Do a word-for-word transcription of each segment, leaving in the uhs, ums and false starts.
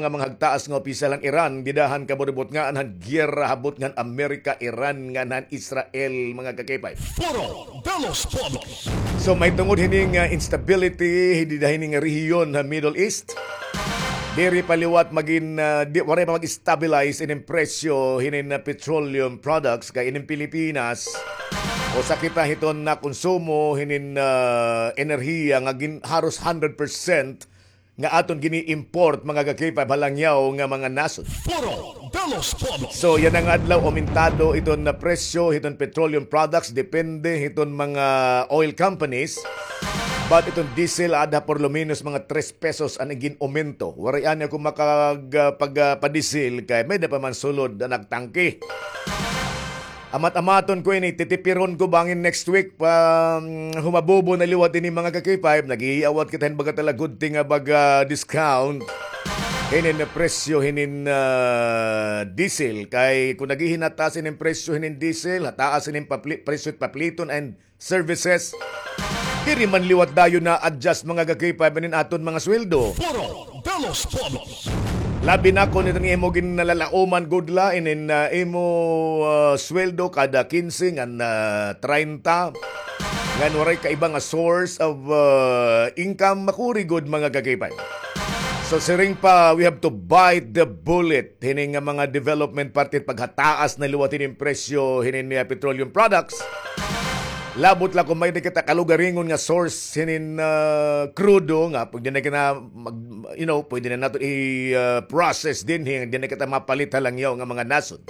nga mga hagtaas nga opisyal han Iran, dida han kaburubutngaan han giyera ha butnga han Amerika, Iran, ngan han Israel, mga ka-K five. Foro de los Pueblos. So, mahitungod hini nga instability, dida hini nga rehiyon ha Middle East, diri pa liwat magin, ah, di, waray pa mag-stabilize inin presyo hinin, ah, petroleum products kay inin Pilipinas, usa kita hiton nakonsumo hinin, ah, enerhiya nga gin-, haros hundred percent nga aton gini-import, mga ka-K five, ha langyaw nga mga nasod. Foro de los Pueblos. So, yana nga adlaw, aumentado iton na presyo hiton petroleum products, depende hiton mga oil companies. But iton diesel, ada por lo menos mga tres pesos an gin-aumento. Waray ani ako makag-, ah, pag, ah, padiesel kay may-ada pa man sulod an nagtangke. Amat-amaton ko ini, titipiron ko bangin next week pa, mm, humabobo na liwat ini, mga ka-K five, nag-iawat kita hin baga talaga good thing nga baga discount. Hinin na presyo, hinin, ah, diesel. Kay kung naghihinataas inin presyo, hinin diesel, hataas inin papli-, presyo it papliton and services. Diri man liwat dayon na-adjust, mga ka-K five, inin aton mga sweldo. Foro de los Pueblos. Labi na kon iton imo ginalalaoman gud la, inin, ah, imo, ah, sweldo kada kinse ngan, ah, treinta. Ngan waray ka iba nga source of, ah, income, makuri gud, mga ka-K five. So, siring pa, we have to bite the bullet. Hini nga mga development parte paghataas na liwat hinin presyo, hinin, ah, petroleum products. Labot la kung may-ada kita kalugaringon nga source hinin, ah, krudo nga pwede na kita mag-, you know, pwede na naton i, ah, process dinhi, diri na kita mapalit ha langyaw nga mga nasod.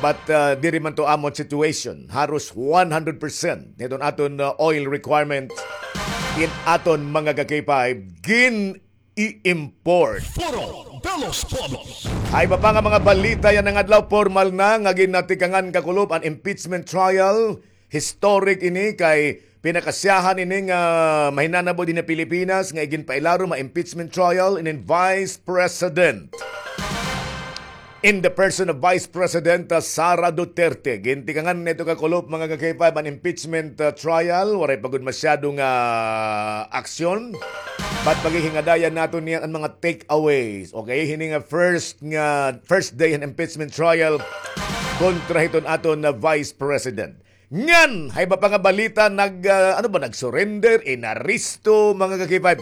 But, ah, diri man to amon situation. Haros one hundred percent niton aton, ah, oil requirement in aton, mga ka-K five, gin-i-import. Foro de los Pueblos. Ha iba pa nga mga balita yana nga adlaw, pormal na nga ginatikangan kakulop an impeachment trial. Historic ini kay pinakasyahan ini nga mahinanabo dinhi ha Pilipinas nga iginpailarom ha impeachment trial inin Vice President in the person of Vice President, uh, Sara Duterte. Gintikangan na ito kakulop, mga ka-K five, an impeachment, uh, trial. Waray pa gud masyado nga aksyon. But paghihingadayan naton niyan an mga takeaways. Okay, hini nga first nga, first day han impeachment trial kontra hiton aton na Vice President. Ngan, ha iba pa nga balita, nag, ah, ano ba, nag-surrender, inaresto, mga ka-K five,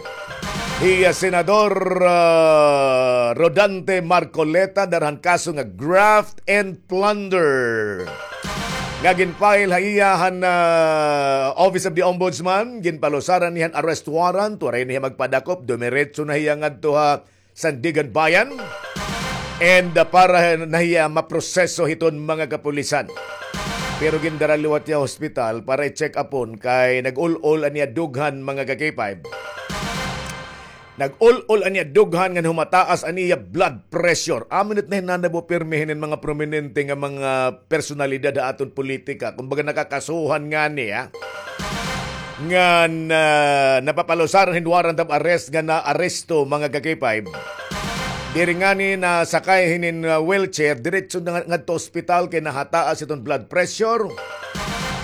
hi, ah, Senador, ah, Rodante Marcoleta, dara han kaso nga graft and plunder nga gin-file ha iya han, ah, Office of the Ombudsman. Ginpalusaran niya han arrest warrant, waray na hiya magpadakop, dumiretso na hiya ngadto ha Sandiganbayan. And, uh, para na hiya maproseso hiton mga kapulisan. Pero gindara liwat hiya hospital para i-check upon kay nag-ul-ol an iya dughan, mga ka-K five. Nag-ul-ol an iya dughan ngan humataas an iya blood pressure. Amo it nahinanabo pirmi hinin mga prominente nga mga personalidad ha aton politika. Kumbaga nakakasuhan ngani, ha? Ngan, ah, napapalusaran hin warrant of arrest nga naaresto, mga ka-K five. Diri ngani nasakay hinin, ah, wheelchair, diretso na nga, ngadto ospital kay nahataas iton blood pressure.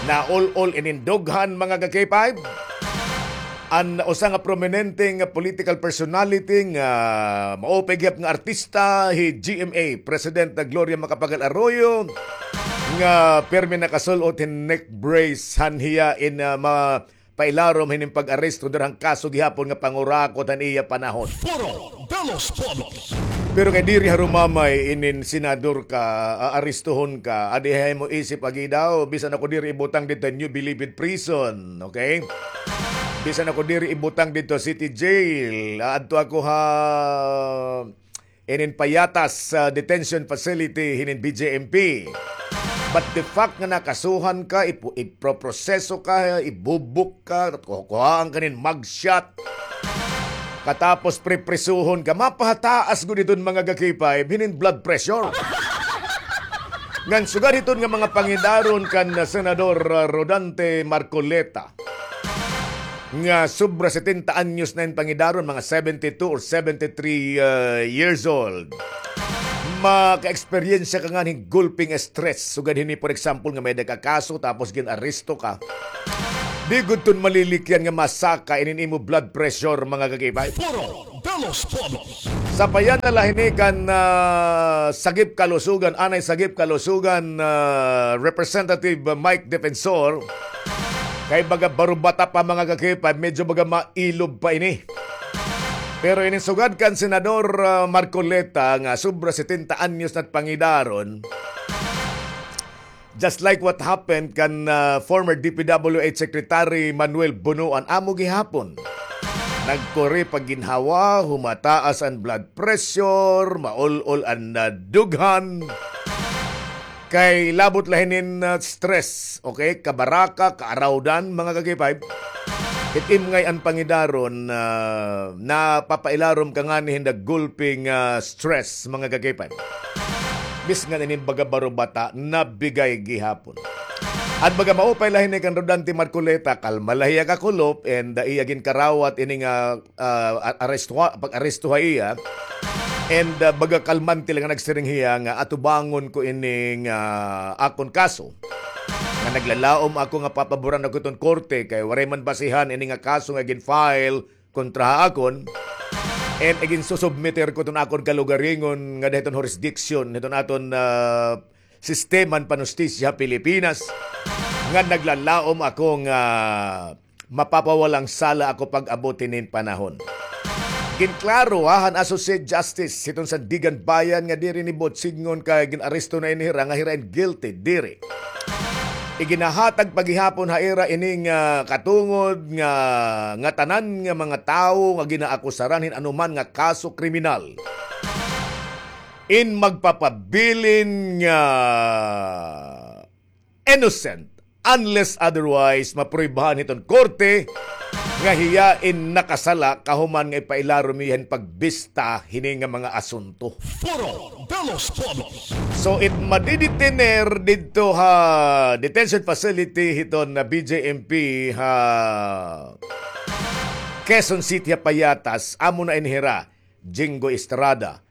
Naul-ol inin dughan, mga ka-K five. An usa nga prominente nga political personality nga maupay gihap nga artista, hi G M A President Gloria Macapagal Arroyo, nga pirmi nakasul-ot hin neck brace han hiya in, ah, ma-, pailarom hinin pag-aresto dira han kaso gihapon nga pangurakot han iya panahon. Foro de los Pueblos. Pero kay diri harumamay inin senador ka, aarestohon ka, adi ha imo isip agi daw, bisan ako diri ibutang didto ha New Bilibid Prison, okay? Bisan ako diri ibutang didto ha City Jail, aadto ako ha inin Payatas, ah, detention facility hinin B J M P. But the fact nga nakasuhan ka, ipu-, iproproseso ka, ibubuk ka, kukuhaan ka nin mugshot, katapos priprisuhon ka, mapahataas gud iton, mga ka-K five, hinin blood pressure. Ngan sugad hiton nga mga pangidaron kan Senador, ah, Rodante Marcoleta, nga sobra setenta anyos na in pangidaron, mga seventy-two or seventy-three, uh, years old. Maka-eksperyensya ka ngani hin gulping stress. Sugad hini, for example, nga may-ada ka kaso tapos gin-aresto ka. Di gud ton malilikyan nga masaka inin imo blood pressure, mga ka-K five. Foro de Sa payanala hini kan, ah, Sagip Kalusugan, anay Sagip Kalusugan, ah, Representative Mike Defensor, kay baga barubata pa, mga ka-K five, medyo baga mailob pa ini. Pero ini sugad kan Senador, ah, Marcoleta nga sobra setenta anyos na it pangidaron, just like what happened kan, ah, former D P W H Secretary Manuel Bonoan, amo gihapon. Nagkuri pa ginhawa, humataas an blood pressure, maul-ol an, ah, dughan. Kay labot la hinin, ah, stress, okay? Kabaraka, kaarawdan, mga ka-K five. It imngay an pangidaron, ah, napapailarom ka ngani hin the gulping, ah, stress, mga ka-K five. Bisan ini baga barubata, nabigay gihapon. An baga maupay la hini kan Rodante Marcoleta, kalma la hiya kakulop, and, ah, iya ginkarawat ini nga, ah, a-, arestuha-, pag-aresto ha iya. And, ah, baga kalmante la nga nagsiring hiya nga atubangon ko ini nga akon kaso. Nga naglalaom ako nga papaboran ako iton korte kay waray man basihan ini nga kaso nga gin-file kontra ha akon. And iginsusubmitir ko iton akon kalugaringon ngada hiton jurisdiction hiton aton, ah, sistema han panustisya ha Pilipinas nga naglalaom ako nga mapapawalang sala ako pag-abot hinin panahon. Ginklaro, ha, han Associate Justice hiton Sandiganbayan nga diri ini buot sidngon kay gin-aresto na ini hira nga hira in guilty, diri. Iginahatag pa gihapon ha ira ini nga katungod nga ngatanan nga mga tawo nga ginaakusaran hin anuman nga kaso kriminal in magpapabilin nga innocent unless otherwise mapruibahan hiton korte nga hiya in nakasala kahuman nga ipailarom hiya hin pagbista hini nga mga asunto. Foro de los Pueblos. So, it madidetener didto ha detention facility hiton na B J M P ha Quezon City ha Payatas, amo na ini hira, Jinggoy Estrada,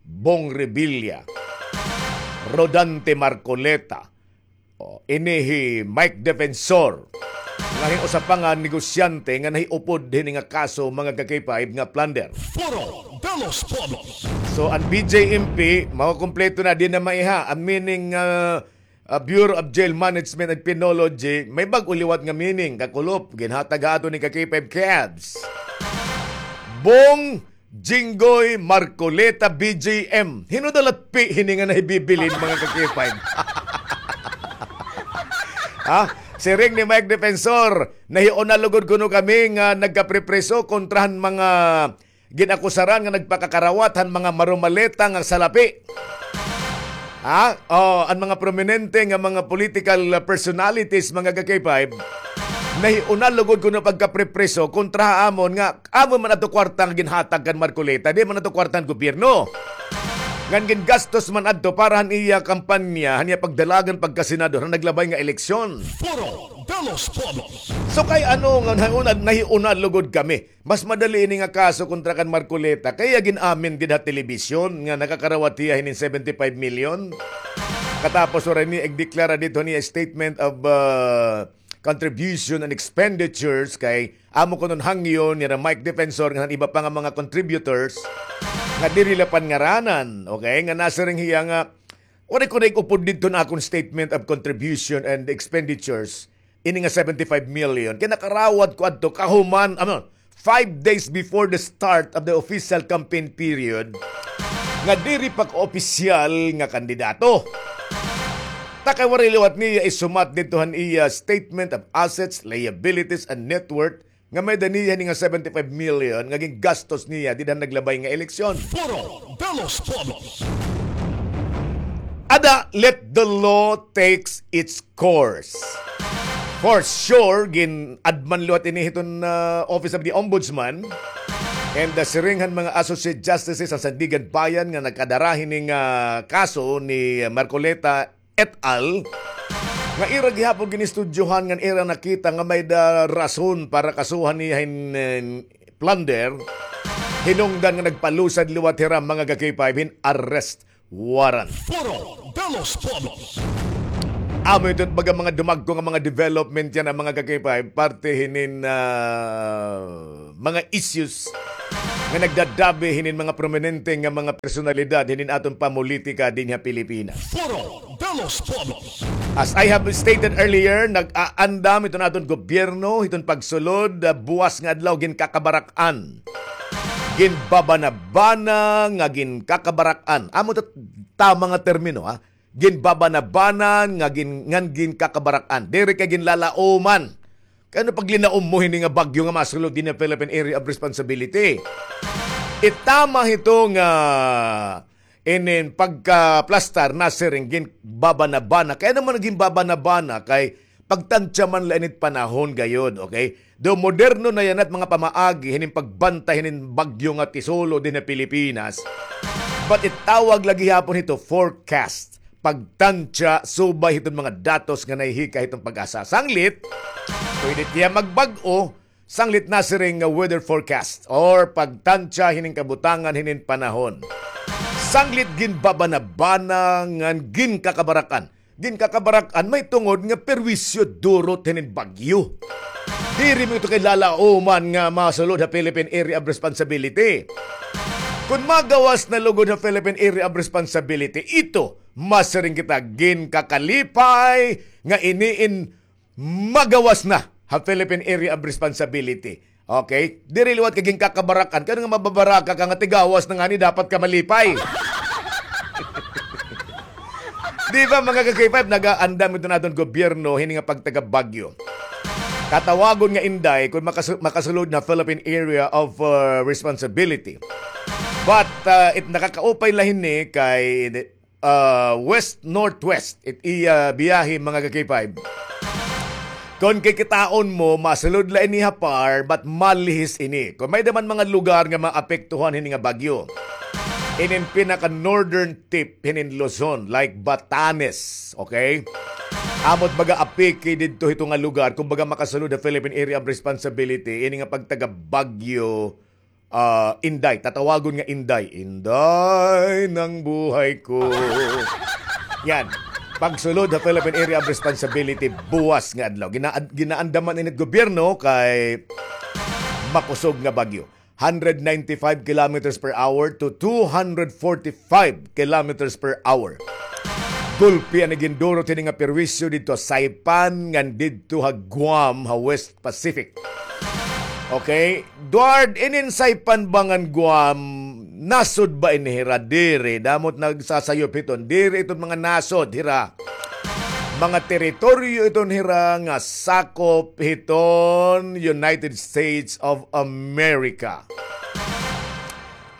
Bong Revilla, Rodante Marcoleta, o, ini hi Mike Defensor, nga hin usa pa nga negosyante nga nahiupod hini nga kaso, mga ka-K five, nga plunder. Foro de los Pueblos. So, an B J M P, makukumpleto na, di na maiha. An meaning, ah, ah, Bureau of Jail Management and Penology, may bag-o liwat nga meaning, kakulop, ginhatag ha aton ni ka-K five Cavs. Bong Jinggoy Marcoleta B J M. Hin-o daw la it P hini nga nahibibilin, mga ka-K five? Ha? Siring ni Mike Defensor, nahiuna lugod kuno kami nga nagkapripriso kontra han mga ginakusaran nga nagpakakarawat han mga marumaleta nga salapi. Ha? O, an mga prominente nga mga political personalities, mga ka-K five, nahiuna lugod kuno pagkapripriso kontra ha amon nga amon man adto kwarta nga ginhatag kan Marcoleta, di man adto kwarta han gobyerno. Ngan gingastos man adto para han iya kampanya, han iya pagdalagan pagkasenador, han naglabay nga eleksyon. Foro de los Pueblos. So kay ano nga nahiuna, nahiuna lugod kami? Mas madali ini nga kaso kontra kan Marcoleta kay iya gin-amin dida ha telebisyon nga nakakarawat hiya hinin seventy-five million. Katapos waray niya igdeklara didto niya statement of, ah, contribution and expenditures kay amo kuno an hangyo nira Mike Defensor ngan iba pa nga mga contributors nga diri la pangaranan, okay, nga nasiring hiya nga waray ko na ig-upod didto han akon statement of contribution and expenditures. Ini nga seventy-five million, kay nakarawat ko adto kahuman, ano, five days before the start of the official campaign period, nga diri pa ko opisyal nga kandidato. Ta kay waray liwat niya isumat didto han iya statement of assets, liabilities, and net worth, nga may-ada niya ini nga seventy-five million nga gingastos niya dida han naglabay nga eleksyon. Foro de los Pueblos. Ada, let the law takes its course. For sure, gin-adman liwat ini hiton, ah, Office of the Ombudsman. And, ah, siring han mga Associate Justices han Sandiganbayan nga nagkadara hini nga kaso ni Marcoleta et al. Nga ira gihapon ginistudyohan ngan ira nakita nga may-ada rason para kasuhan niya hin, eh, plunder. Hinungdan nga nagpalusad liwat hira, mga ka-K five, hin arrest warrant. Foro de los Pueblos. Amo ito baga mga dumagko nga mga development yana, mga ka-K five, parte hinin, ah, mga issues nga nagdadabi hinin mga prominente nga mga personalidad hinin aton pamulitika dinhi ha Pilipinas. Foro de los Pueblos. As I have stated earlier, nag-aandam iton aton gobyerno hiton pagsulod, ah, buwas nga adlaw, ginkakabarak-an. Ginbabanabana nga ginkakabarak-an. Amo ta tama nga termino, ha? Ginbabanabanan nga gin-, ngan ginkakabarak-an. Diri kay ginlalauman. Kay ano paglinaom mo hini nga bagyo nga masulod dinhi ha Philippine Area of Responsibility? It tama hito nga inin pagkaplastar nasiring ginbabanabana. Kay ano man ginbabanabana? Kay pagtansya man la ini it panahon gayod, okay? Daw moderno na yana it mga pamaagi hinin pagbantay hinin bagyo nga tisulod dinhi ha Pilipinas. But it tawag la gihapon hito forecast. Pagtansya subay hiton mga datos nga nahihika hiton PAGASA. Sanglit, pwede tiya magbag-o, sanglit nasiring nga weather forecast or pagtansya hinin kabutangan hinin panahon. Sanglit ginbabanabana ngan ginkakabarak-an. Ginkakabarak-an mahitungod nga perwisyo durot hinin bagyo. Diri mo ito kay lalauman nga masulod ha Philippine Area of Responsibility. Kun magawas na lugod ha Philippine Area of Responsibility, ito, masiring kita, ginkakalipay nga ini in magawas na ha Philippine Area of Responsibility. Okay? Diri liwat kay ginkakabarak-an. Kay ano nga mababaraka ka nga tigawas na ngani, dapat ka malipay. Di ba, mga ka-K five, nagaandam ito naton gobyerno hini nga pagtagabagyo. Katawagon nga Inday, kung makasu-, makasulod na Philippine Area of, uh, Responsibility. But, uh, it nakakaupay la hini kay ah, west-northwest it iya biyahe, mga ka-K five. Kon kikitaon mo, masulod la ini ha PAR, but malihis ini. Kon may-ada man mga lugar nga maapektuhan hini nga bagyo, inin pinaka-northern tip hinin Luzon, like Batanes, okay? Amo it baga apiki didto hito nga lugar, kumbaga makasulod ha Philippine Area of Responsibility, ini nga pagtagabagyo ah, Inday, tatawagon nga Inday. Inday ng buhay ko. Yan. Pagsulod ha Philippine Area of Responsibility buwas nga adlaw. Gina-, ginaandaman ini it gobyerno kay makusog nga bagyo. Hundred ninety-five kilometers per hour to two hundred forty-five kilometers per hour. Gulpi an gindurot hini nga perwisyo didto ha Saipan ngan didto ha Guam ha West Pacific. Okay? Duard, inin Saipan ba ngan Guam, nasod ba ini hira? Diri. Damo it nagsasayop hiton. Diri iton mga nasod hira. Mga teritoryo iton hira nga sakop hiton United States of America.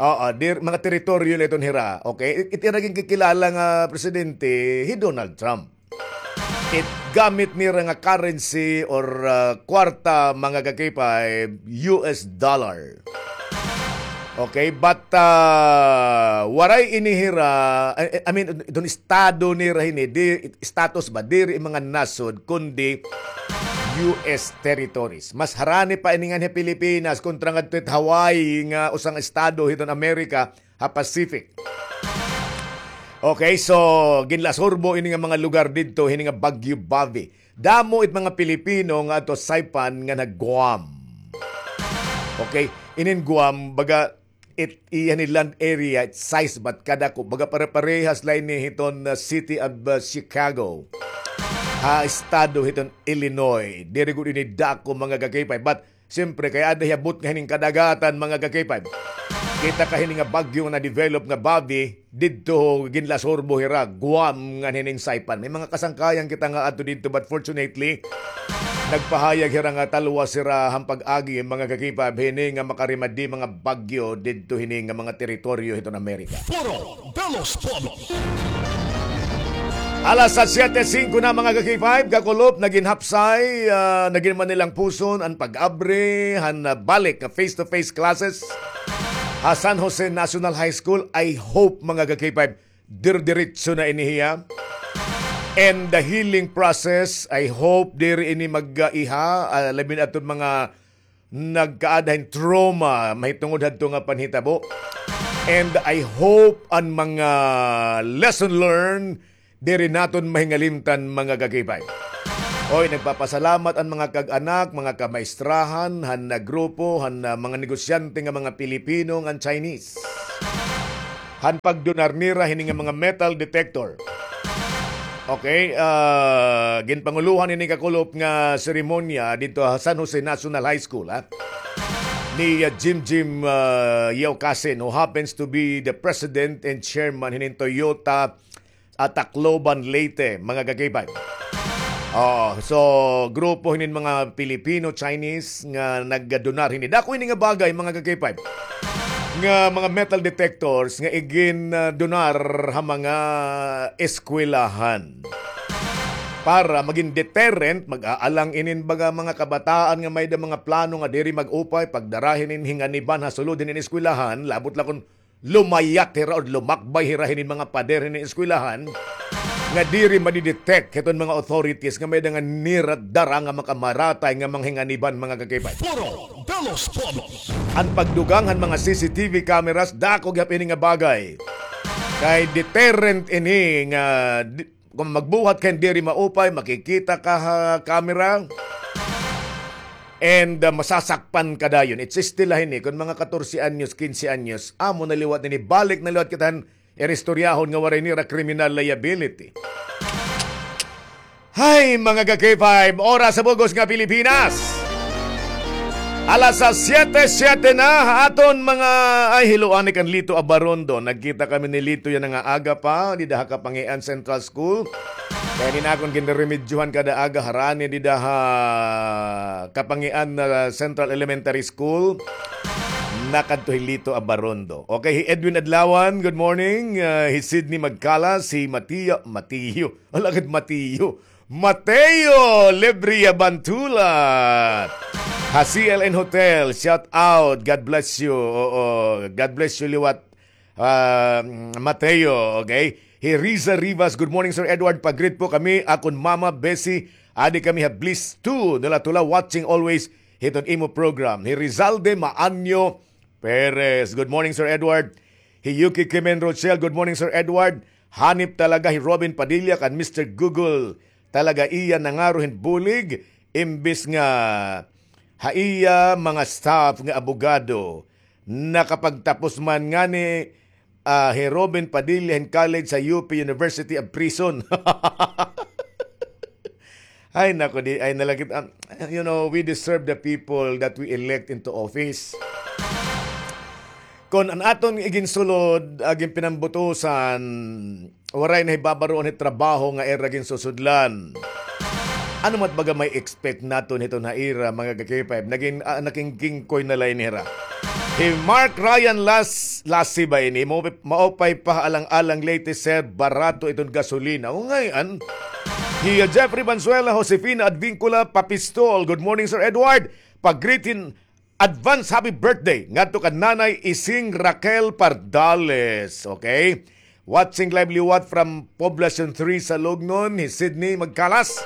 Oo, dir-, mga teritoryo la iton hira. Okay? It-, it ira ginkikilala nga presidente, hi Donald Trump. It gamit nira nga currency or, ah, kwarta, mga ka-K five, U S dollar. Okay, but, ah, waray ini hira, I, I mean, iton estado nira hini, di, status ba, diri mga nasod, kundi U S territories. Mas harani pa ini nganhi Pilipinas kontra ngadto it Hawaii nga usang estado hiton Amerika, ha Pacific. Okay, so ginlasurbo ini nga mga lugar didto hini nga Bagyo Bobby. Damo it mga Pilipino nga adto Saipan ngan ha Guam. Okay, inin Guam, baga it iya ni land area, it size ba it kadako, baga pare-parehas la ini hiton, uh, city of, uh, Chicago. Ha estado hiton Illinois. Diri gud ini dako, mga ka-K five. But siyempre, kay aada hiya butnga hining kadagatan, mga ka-K five. Kita ka hini nga bagyo nga na-develop nga Bobby, didto ginlasurbo hira, Guam ngan hining Saipan. May mga kasangkayan kita nga adto didto, but fortunately, nagpahayag hira nga talwas hira han pag-agi, mga ka-K five, hini nga makarimadi mga bagyo didto hini nga mga teritoryo hiton Amerika. Foro de los Pueblos. Alas siyete singko na, mga ka-K five, kakulop, nagin hapsay, ah, nagin Manilang puson an pag-abri han, ah, balik nga face-to-face classes ha San Jose National High School. I hope, mga ka-K five, dir-diretso na ini hiya. And the healing process, I hope diri ini mag-iha, ah, labi na aton mga nagkaada hin trauma mahitungod hadto nga panhitabo. And I hope an mga lesson learned diri naton mahingalimtan, mga ka-K five. Oy, nagpapasalamat an mga kag-anak, mga kamaistrahan, han, ah, grupo, han, ah, mga negosyante nga mga Pilipino ngan Chinese. Han pagdonar nira hini nga mga metal detector. Okay, ah, ginpangulohan ini kakulop nga seremonya didto ha San Jose National High School, ha? Ni, ah, Jim Jim, ah, Yeo Kasin, who happens to be the president and chairman hinin Toyota, ah, Tacloban, Leyte, mga ka-K five. Oh, so, grupo hinin mga Pilipino, Chinese nga nagdonar hini. Dako ini nga bagay, mga ka-K five, nga mga metal detectors nga igin, ah, donar ha mga eskwelahan. Para magin deterrent, mag-aalang inin baga mga kabataan nga may-ada mga plano nga diri mag-upay, pagdara hinin hinganiban ha sulod hinin eskwelahan, labot la kon lumayat hira o lumakbay hira hinin mga pader hinin eskwelahan, nga diri madi-detect hiton mga authorities nga may-ada nga nira dara nga makamaratay nga mga hinganiban, mga ka-K five. Foro de los Pueblos. An pagdugang han mga C C T V cameras, dako gihap ini nga bagay. Kay deterrent ini nga di-, kon magbuhat ka hin diri maupay, makikita ka ha camera. And, ah, masasakpan ka dayon. It's still la hini, kon mga katorse anyos, kinse anyos, amo na liwat ini, balik na liwat kita han ira istoryahon nga waray nira criminal liability. Hay, mga ka-K five, oras sa bug-os nga Pilipinas. Alas sa siyete, siyete na, aton mga, ay, hiloan ni kan Lito Abarondo. Nagkita kami ni Lito yana nga aga pa, dida ha Kapangian Central School. Kay ini na akon ginreremedyohan kada aga harani dida ha Kapangian, ah, Central Elementary School. Nakadto hi Lito Abarondo. Okay, hi Edwin Adlawan, good morning. Ah, hi Sydney Magkalas, hi Matio, Matio. Ala gad Matio. Mateo Lebria Bantula. Ha C L N Hotel, shout out. God bless you. Oo, God bless you liwat. Ah, Mateo, okay? Hi Riza Rivas, good morning, Sir Edward. Pag-greet po kami, akon mama, Bessie, adi kami ha Bliss two, Nula Tula, watching always hiton imo program. Hi Rizalde Maanyo Perez, good morning, Sir Edward. Hi Yuki Kimen Rochelle, good morning, Sir Edward. Hanip talaga hi Robin Padilla kan Mister Google. Talaga iya nangaro hin bulig, imbis nga ha iya mga staff nga abogado. Nakapagtapos man ngani, ah, hi Robin Padilla hin college sa U P University of Prison. Ay, nako, di, ay, nalakit, um, you know, we deserve the people that we elect into office. Kon an aton iginsulod, ah, ginpinambutusan, waray na hibabaroon hit trabaho nga ira ginsusudlan. Ano mat baga may expect naton hiton ha ira, mga ka-K five? Nagin, ah, nakingkingkoy na la ini hira. Hi Mark Ryan Las-, Lasi ba ini? Maupay, maupay pa alang-alang Leyte, sir, barato iton gasolina. O, ngay-an. Hi, ah, Jeffrey Banzuela, Josefina Advincula, Papistol. Good morning, Sir Edward. Pag-greet hin advance happy birthday ngadto kan Nanay Ising Raquel Pardales. Okay? Watching live liwat from Poblacion three sa Lugnon, hi Sydney Magkalas.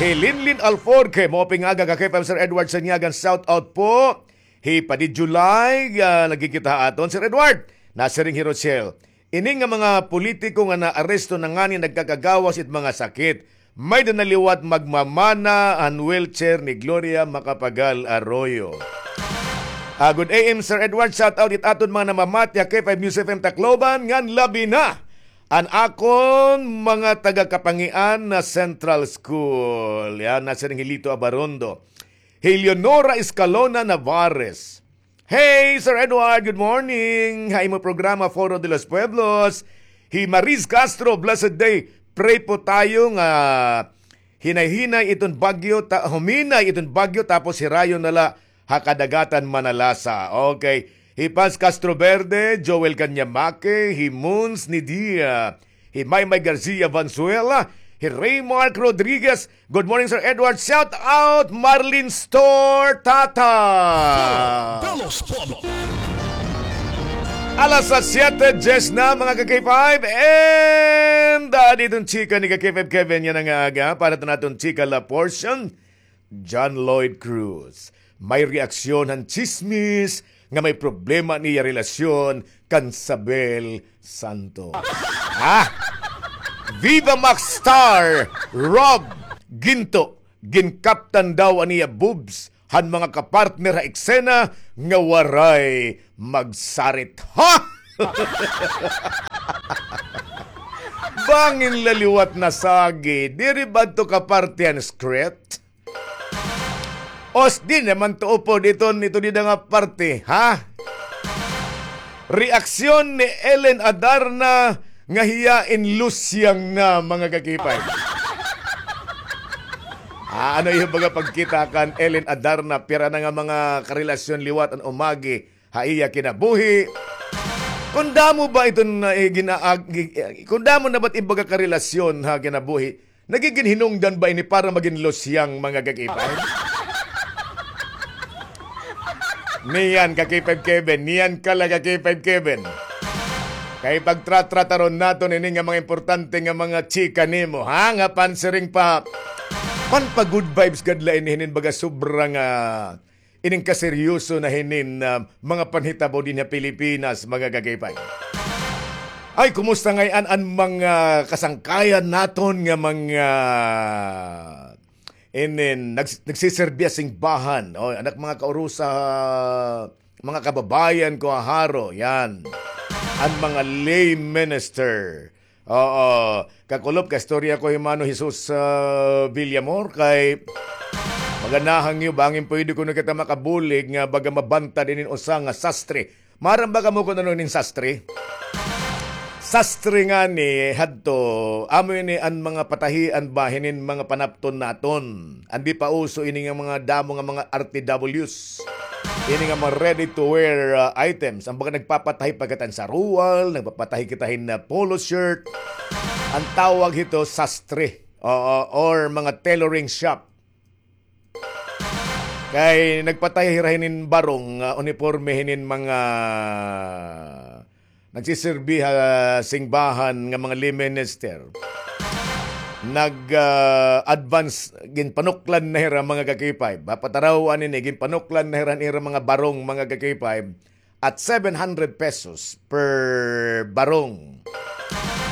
Hi Linlin Alforque, maupay nga aga ka-K five, Sir Edward Sanyagan, shout out po. Hi Padi July, ah, nagkikita ha aton, Sir Edward. Nasiring hi Rochelle. Ini nga mga politiko nga naaresto na ngani nagkakagawas it mga sakit. May-ada na liwat magmamana an wheelchair ni Gloria Macapagal Arroyo. Ah, good A M, Sir Edward. Shout out it aton mga namamati ha K five News F M Tacloban, ngan labi na an akon mga taga-Kapangian na Central School. Yan, nasiring hi Lito Abarondo. Hi Leonora Escalona Navarez. Hey, Sir Edward, good morning. Ha imo programa, Foro de los Pueblos. Hi Mariz Castro, blessed day. Pray po tayo nga hinay-hinay iton bagyo, ta-, huminay iton bagyo, tapos hirayon na la ha kadagatan Manalasa. Okay. Hi Paz Castro Verde, Joel Canyamake, hi Mons Nidia. Hi Maymay Garcia Vanzuela, hi Raymark Rodriguez. Good morning, Sir Edward. Shout out, Marlin Store Tata. Foro de los Pueblos. Alas sa siyete, diyes na, mga ka-K five. And, ah, didto an chika ni ka-K five Kevin yana nga aga. Para ta naton chika la portion. John Lloyd Cruz. May reaksyon han tsismis nga may problema an iya relasyon kan Sabel Santos. Ha? Viva Max Star, Rob Ginto. Ginkaptan daw an iya boobs han mga kapartner ha eksena nga waray magsarit. Ha? Bangin la liwat nasagi, diri ba adto kaparte han script? Os, di naman to upod iton, ito dida nga parte, ha? Reaksyon ni Ellen Adarna nga hiya in lusyang na, mga kakipay. Ah, ano iyo baga pagkita kan Ellen Adarna, pira na nga mga karelasyon liwat an umagi ha iya kinabuhi. Kon damo ba iton, ah, eh, ginaag-, gi-, eh, kon damo na ba't ibaga karelasyon ha kinabuhi, nagigin hinungdan ba ini para magin lusyang, mga kakipay? Niyan, kakipay Kevin. Niyan ka la, kakipay Kevin. Kay pagtratrataron naton ini nga mga importante nga mga chika nimo, ha? Nga pansiring pa, pan pa good vibes gad la ini hinin baga sobra nga ining kaseryoso na hinin, ah, mga panhitabo dinhi ha Pilipinas, mga kakipay. Ay, kumusta ngay-an an mga kasangkayan naton nga mga inin nags-, nagsiserbi ha singbahan? O, anak, mga kaurusa, mga kababayan ko ha Jaro, yan. An mga lay minister. Oo. Kakulop, kaistorya ko hi Mano Jesus, ah, Villamor, kay maganahan niyo, bangin pwede kuno kita makabulig nga baga mabantad inin usa nga sastre. Maaram ba kamo kon ano inin sastre? Sastre ngani hadto, amo ini an mga patahian ba hinin mga panapton naton. Andi pa uso ini nga mga damo nga mga R T Ws. Ini nga mga ready to wear, ah, items. An baga nagpapatahi pa kita hin saruwal, nagpapatahi kita hin, ah, polo shirt. An tawag hito, sastre. Oo, or mga tailoring shop. Kay nagpatahi hira hinin barong, ah, uniporme hinin mga nagsisirbi ha singbahan nga mga lay minister. Nag, ah, advance, ginpanuklan na hira, mga kakipay. Papataraw-an ini, ginpanuklan na hira an ira mga barong, mga kakipay, at seven hundred pesos per barong.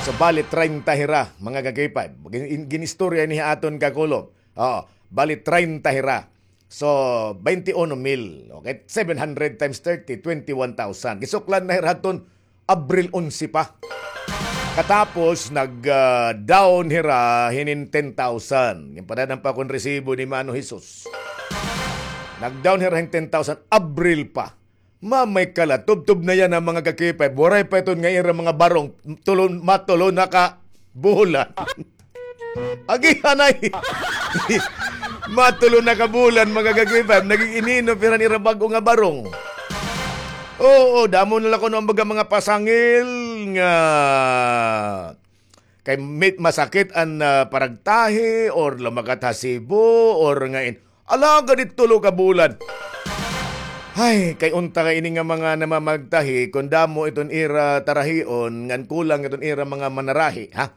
So, bali, treinta hira, mga kakipay. Gin-, ginistorya ini ha aton, kakulop. Oo, bali, treinta hira. So, twenty-one mil. Okay, seven hundred times thirty, twenty-one thousand. Gisuklan na hira hadton Abril onse pa. Katapos, nag, ah, down hira hinin ten thousand. Ginpadad-an pa akon resibo ni Mano Jesus. Nag-down hira hin ten thousand, Abril pa. Mamay kala, tubtob na yana, mga kakipay. Waray pa iton nga ira mga barong, tulo, matulo na ka bulan. Agi, anay. Matulo na ka bulan, mga kakipay. Naging inino, pira an ira bag-o nga barong. Oo, damo na la kuno an baga mga pasangil nga kay mit-, masakit an, ah, paragtahi or lumakat ha Cebu or nga in-, alagad it tulo ka bulan. Ay, kay unta nga ini nga mga namamagtahi, kon damo iton ira tarahion, ngan kulang iton ira mga manarahi, ha?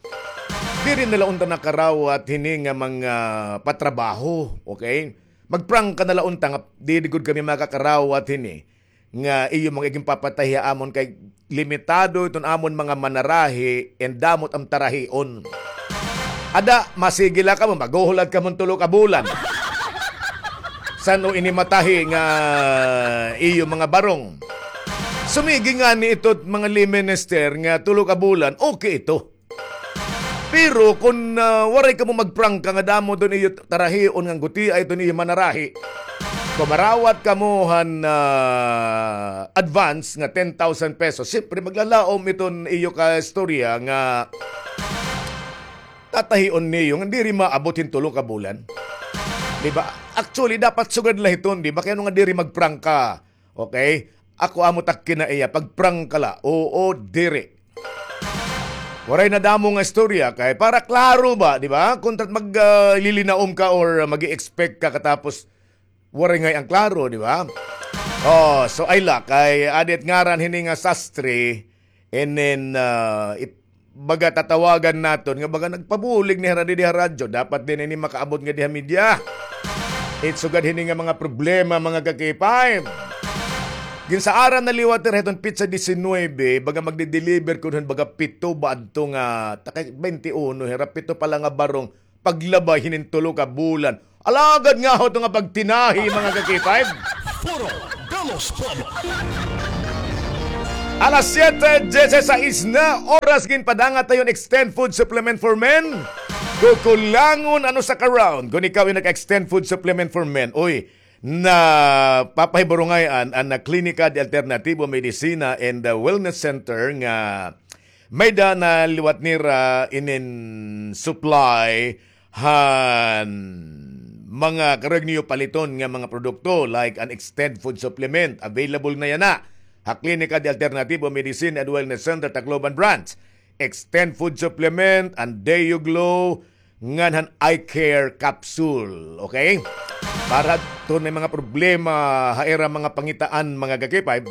Diri na la unta nakarawat hini nga mga patrabaho, okay? Magprangka na la unta nga diri gud kami makakarawat hini nga iyo mga iginpapatahi ha amon kay limitado iton amon mga manarahi and damo it am tarahion. Ada, masigi la kamo, maghuhulat kamo hin tulo ka bulan. San-o ini matahi nga iyo mga barong? Sumigi ngani ito mga lay minister nga tulo ka bulan, okay ito. Pero kon, ah, waray kamo magprangka nga damo iton iyo tarahion ngan gutia iton iyo manarahi, kon marawat kamo han, ah, advance nga ten thousand pesos, siyempre maglalaom iton iyo kaistorya nga tatahion niyo nga diri maabot hin tulo ka bulan. Di ba? Actually, dapat sugad la hiton, di ba? Kay ano nga diri magprangka? Okay? Ako amo tak kinaiya, pagprangka la, oo, diri. Waray na damo nga istorya, kay para klaro ba, di ba? Kontra mag, ah, lilinaom ka or mag-i-expect ka katapos waray ngay-an klaro, di ba? Oh, so ay la, kay adi it ngaran hini nga sastre, and then, ah, it-, baga tatawagan naton nga baga nagpabulig ni hira didi ha radyo. Dapat din ini makaabot nga diha media. It sugad hini nga mga problema, mga ka-K five. Ginsaaran na liwat hira hiton petsa diecinuebe, baga magde-deliver kun hin baga pito ba adto nga, takay twenty-uno, hira pito pa la nga barong, paglabay hinin tulo ka bulan. Alagad nga ho ito nga pagtinahi, mga ka-K five. Foro de los Pueblos. Alas siyete dieciséis na oras, ginpadangat na yon Extend Food Supplement for Men. Kukulangon an usa ka round kon ikaw ay nag-Extend Food Supplement for Men. Uy, napapahiburungay an, an Klinika de Alternativo Medicina and, uh, Wellness Center nga may-ada na liwat nira inin supply han mga karuyag niyo paliton nga mga produkto, like an Extend Food Supplement. Available na yana ha Klinika de Alternativo Medicine and Wellness Center, Tacloban Branch. Extend Food Supplement, an Deo Glow, ngan han Eye Care Capsule. Okay? Para kon may mga problema ha ira mga pangitaan, mga ka-K five,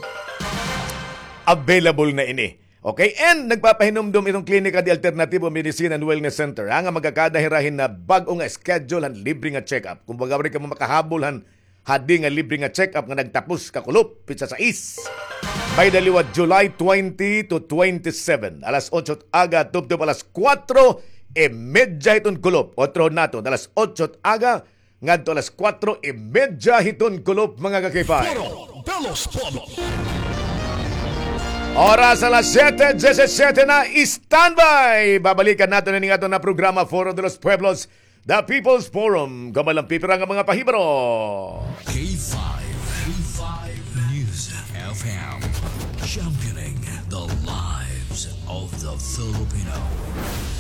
available na ini. Okay, and nagpapahinumdom iton Klinika de Alternativo Medicine and Wellness Center, ha, nga magkakada hira hin bag-o nga schedule han libre nga check-up. Kumbaga, waray kamo makahabol han hadi nga libre nga check-up nga nagtapos kakulop, petsa sais. May-ada liwat July twenty to twenty-seven, alas otso aga tubtob alas kuwatro y medya hiton kulop. Otrohon naton, alas otso aga ngadto alas kuwatro y medya hiton kulop, mga ka-K five. Foro de los Pueblos. Oras alas siyete diecisiete na, standby! Babalikan naton ini nga aton nga programa, Foro de los Pueblos, The People's Forum, gamay la an pipira nga mga pahibaro. K five, K five News F M, championing the lives of the Filipino.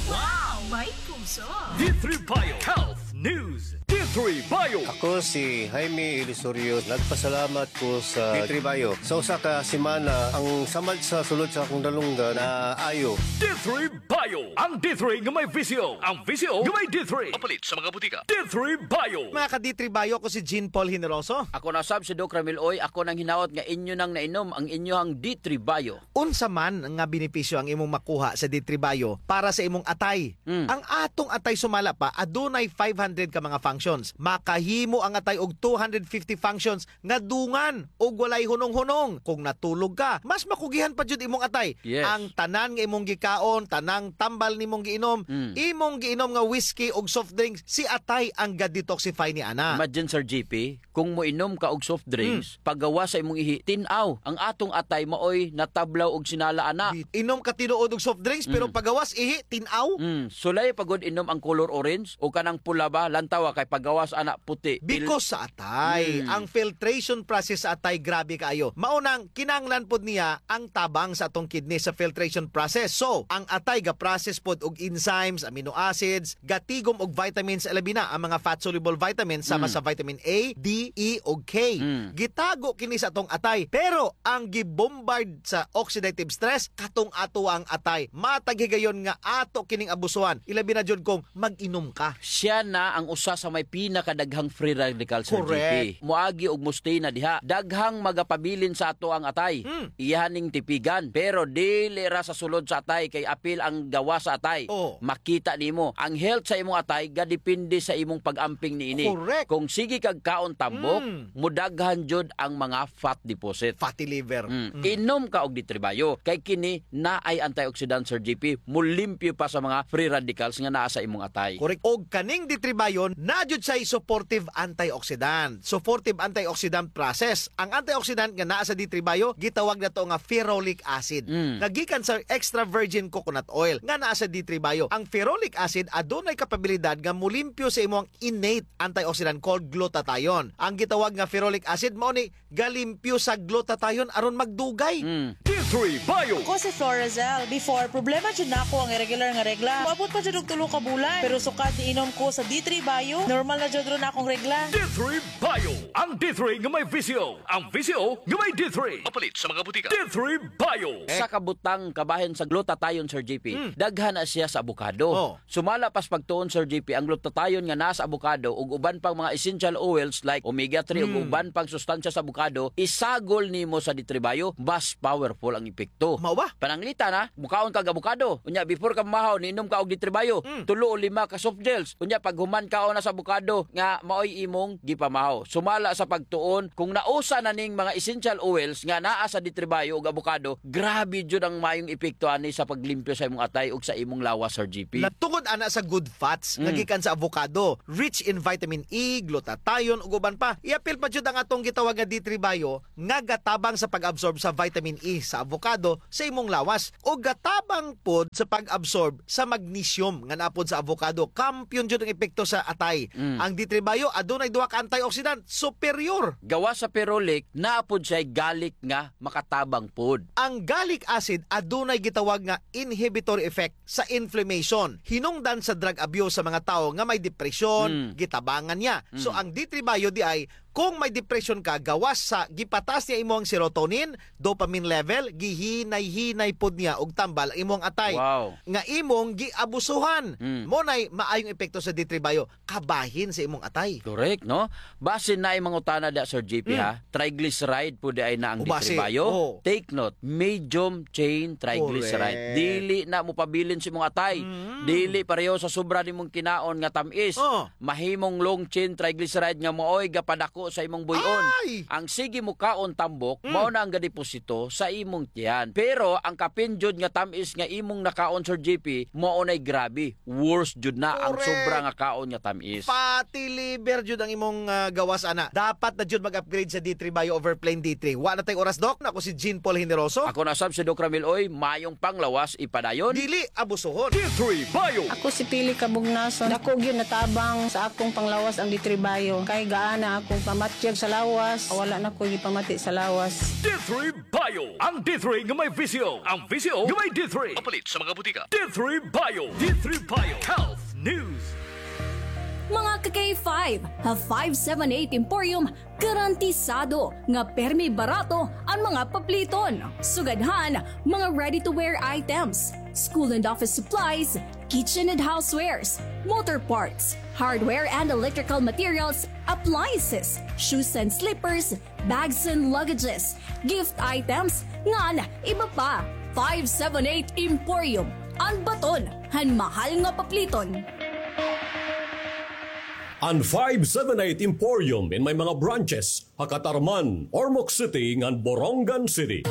Wow! May puso! D three Bio Health News. D three Bio. Ako si Jaime Ilusorio. Nagpasalamat ko sa D three Bio. Sa usa ka semana, an samad sa sulod sa akon dalunggan naayo. D three Bio. An D three nga may V C O. An V C O nga may D three. Mapalit sa mga butika. D three Bio. Mga ka-D three Bio, ako si Jean Paul Generoso. Ako na sab si Doc Ramil Uy. Ako nanghinaot nga inyo nang nainom an inyohang D three Bio. Unsa man nga benepisyo an imong makuha sa D three Bio para sa imong atay? Mm. An atong atay, sumala pa, adunay five hundred ka mga functions. Makahimo an atay og two hundred fifty functions nga dungan ug walay hunong-hunong. Kon natulog ka, mas makugihan pa jud imong atay. Yes. An tanan nga imong gikaon, tanang tambal nimong giinom, Mm. imong giinom nga whiskey ug soft drinks, si atay an ga-detoxify niana. Imagine, Sir G P, kon moinom ka og soft drinks, Mm. pagawas sa imong ihi, tin-aw. An atong atay maoy natablaw og sinala ana. Di-, inom ka tinuod og soft drinks, pero Mm. pagawas ihi, tin-aw. Mm. Sulay pa gud inom an color orange o kanang pula ba, lantawa kay pagawas ana puti. Pil- Because sa atay, Mm. ang filtration process sa atay grabe kaayo. Mao nang kinahanglan pod niya ang tabang sa atong kidney sa filtration process. So, ang atay ga-process pod og enzymes, amino acids, gatigom og vitamins, labi na ang mga fat-soluble vitamins sama Mm. sa vitamin A, D, E, ug K. Mm. Gitago kini sa atong atay, pero ang gibombard sa oxidative stress, katong atoa ang atay. Matag higayon nga ato kining abusuhan. Ilabi na jud kung mag-inom ka. Siya na ang usa sa may pinakadaghang free radical, Sir Correct. G P. Moagi og mostay na diha. Daghang magapabilin sa atoang atay. Hmm. Iya ning tipigan. Pero dili ra sa sulod sa atay kay apil ang gawas sa atay. Oh. Makita nimo, ang health sa imong atay gadepende sa imong pag-amping niini. Correct. Kung sige kag kaon tambok, Hmm. modaghan jud ang mga fat deposit. Fatty liver. Mm. Mm. Inom ka og D three Bio. Kay kini naay antioxidant, Sir G P. Molimpyo pa sa mga free radicals nga naa sa imong atay. Correct. Og kaning D three Bio, naa jud siya'y supportive antioxidant. Supportive antioxidant process. Ang antioxidant nga naa sa D three Bio, gitawag nato nga ferulic acid. Mm. Nga gikan sa extra virgin coconut oil nga naa sa D three Bio. Ang ferulic acid adunay kapabilidad nga molimpyo sa imong innate antioxidant called glutathione. Ang gitawag nga ferulic acid mao ni galimpyo sa glutathione aron magdugay. Mm. D three Bio. Ako si Florazel. Before, problema jud nako ang irregular nga regla. Moabot pa jud og tulo ka bulan. Pero sukad niinom ko sa D three Bio, normal na jud ron akong regla. D three Bio. Ang D three nga may V C O. Ang V C O nga may D three. Mapalit sa mga butika. D three Bio. Sa kabutang kabahin sa glutathione, Sir G P, Mm. daghan na siya sa avocado. Oh. Sumala pa sa pagtuon, Sir G P, ang glutathione nga naa sa avocado ug uban pang mga essential oils like omega three ug Mm. uban pang sustansya sa avocado, isagol nimo sa D three Bio, mas powerful ang epekto. Mao ba? Pananglitan, ha, mukaon ka og abokado. Unya, before ka mamahaw, niinom ka og D three Bio. Mm. Tulo o lima ka soft gels. Unya, paghuman kaon na sa abokado, nga maoy imong gipamahaw. Sumala sa pagtuon, kung nausa na ning mga essential oils nga naa sa D three Bio ug abokado, grabe jud ang mayong epekto ani sa paglimpyo sa imong atay ug sa imong lawas, Sir G P. La-, tungod ana sa good fats nga Mm. gikan sa avocado, rich in vitamin E, glutathione, ug uban pa. Iapil pa jud ang atong gitawag nga D three Bio nga gatabang sa pag-absorb sa vitamin E sa avocado sa imong lawas, ug gatabang pod sa pag-absorb sa magnesium nga naa pod sa avocado. Kampiyon jud ang epekto sa atay. Mm. Ang D three Bio adunay duha ka antioxidant, superior. Gawas sa ferulic, naa pod siya gallic nga makatabang pod. Ang gallic acid adunay gitawag nga inhibitory effect sa inflammation. Hinungdan sa drug abuse sa mga tawo nga may depression, Mm. gitabangan niya. So, Mm. ang D three Bio diay, kung may depression ka, gawas sa gipataas niya imo ang serotonin, dopamine level, gihinay-hinay pod niya og tambal ang imong atay. Wow. Nga imong giabusuhan. Mm. Mao nay maayong epekto sa D three Bio, kabahin sa imong atay. Correct, no? Basin naay mangutana da, Sir G P, Mm. ha? Triglyceride pod diay na ang O, basin. D three Bio? Oo. Take note, medium chain triglyceride. Correct. Dili na mopabilin sa imong atay. Mm. Dili pareho sa sobra nimong kinaon nga tam-is. Oh. Mahimong long chain triglyceride nga maoy gapadako sa imong buy-on. Ay! Ang sige mokaon tambok, Mm. mao na ang gadeposito sa imong tiyan. Pero ang kapin jud nga tam-is nga imong nakaon, Sir G P, mao nay grabe. Worse jud na ang Correct. sobra nga kaon nga tam-is. Fatty liver jud ang imong, ah, gawas ana. Dapat na jud mag-upgrade sa D three Bio over plain D three. Wa na tay oras, Doc. Ako si Jean Paul Generoso. Ako na sab si Doc Ramil Uy. Mayong panglawas ipadayon. Dili abusuhon. D three Bio. Ako si Pili Kabugnason. Dako gyud natabang sa akong panglawas ang D three Bio. Kay gaana akong pamatyag sa lawas, wala na ko gipamati sa lawas. D three Bio. Ang D three nga may visyo. Ang visyo nga may D three. Mapalit sa mga butika. D three Bio. D three Bio. Health News. Mga ka-K five, ha five seven eight Emporium, garantisado nga permi barato an mga papliton. Sugad han mga ready-to-wear items, school and office supplies, kitchen and housewares, motor parts, hardware and electrical materials, appliances, shoes and slippers, bags and luggages, gift items, ngan iba pa. Five seven eight Emporium, an baton han mahal nga papliton. An five seven eight Emporium in may mga branches ha Catarman, Ormoc City, ngan Borongan City.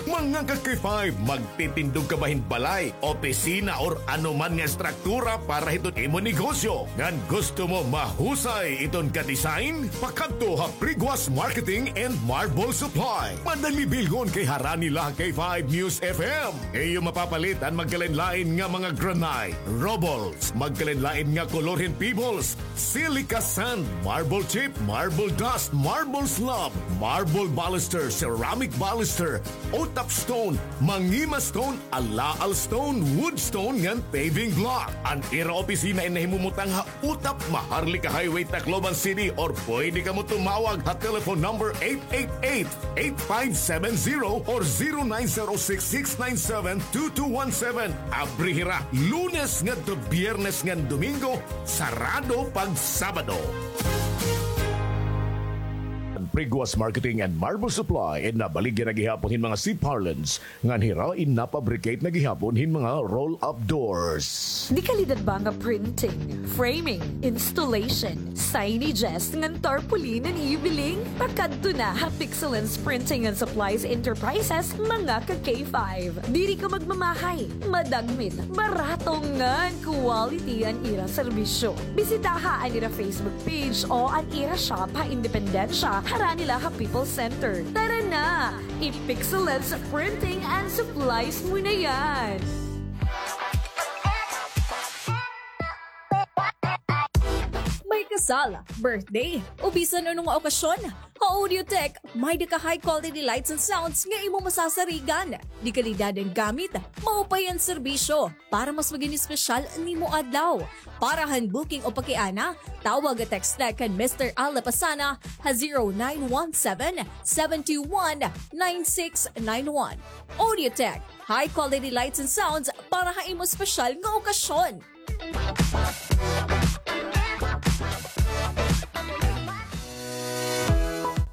Mga ka-K five, magtitindog ka ba hin balay, opisina, or ano man nga estruktura para hiton imo negosyo? Ngan gusto mo mahusay iton ka-design? Pakadto ha Priguas Marketing and Marble Supply. Madali bilngon kay harani la ha K five News F M. Iyo mapapalit an magkalain-lain nga mga granite, rubbles, magkalain-lain nga kolor hin pebbles, silica sand, marble chip, marble dust, marble slab, marble baluster, ceramic baluster, utap stone, mangima stone, alaal stone, wood stone, ngan paving block. An ira opisina in nahimumutang ha Utap, Maharlika Highway, Tacloban City, or pwede kamo tumawag ha telephone number eight eight eight, eight five seven zero or zero nine zero six, six nine seven, two two one seven. Abri hira Lunes ngadto Biyernes ngan Domingo, sarado pag Sabado. Priguas Marketing and Marble Supply in nabaligya na gihapon hin mga C-parlance ngan hira in napabricate na gihapon hin mga roll-up doors. Dekalidad ba nga printing, framing, installation, signages, ngan tarpaulin an ibiling? Pakadto na ha Pixelance Printing and Supplies Enterprises, mga ka-K five. Diri ka magmamahay, madagmit, barato ngan quality an ira serbisyo. Bisitaha an ira Facebook page o an ira shop ha Independencia, harani la ha People's Center. Tara na! I-Pixelance Printing and Supplies mo na yan! May kasal, birthday, o bisan ano nga okasyon, ha Audiotech, may-ada ka high quality lights and sounds nga imo masasarigan. Dekalidad an gamit, maupay an serbisyo. Para mas magin espesyal an imo adlaw. Para han booking o pakiana, tawag o text la kan Mister Al Lapasana ha zero nine one seven, seven two one, nine six nine one. Audiotech, high quality lights and sounds para ha imo espesyal nga okasyon.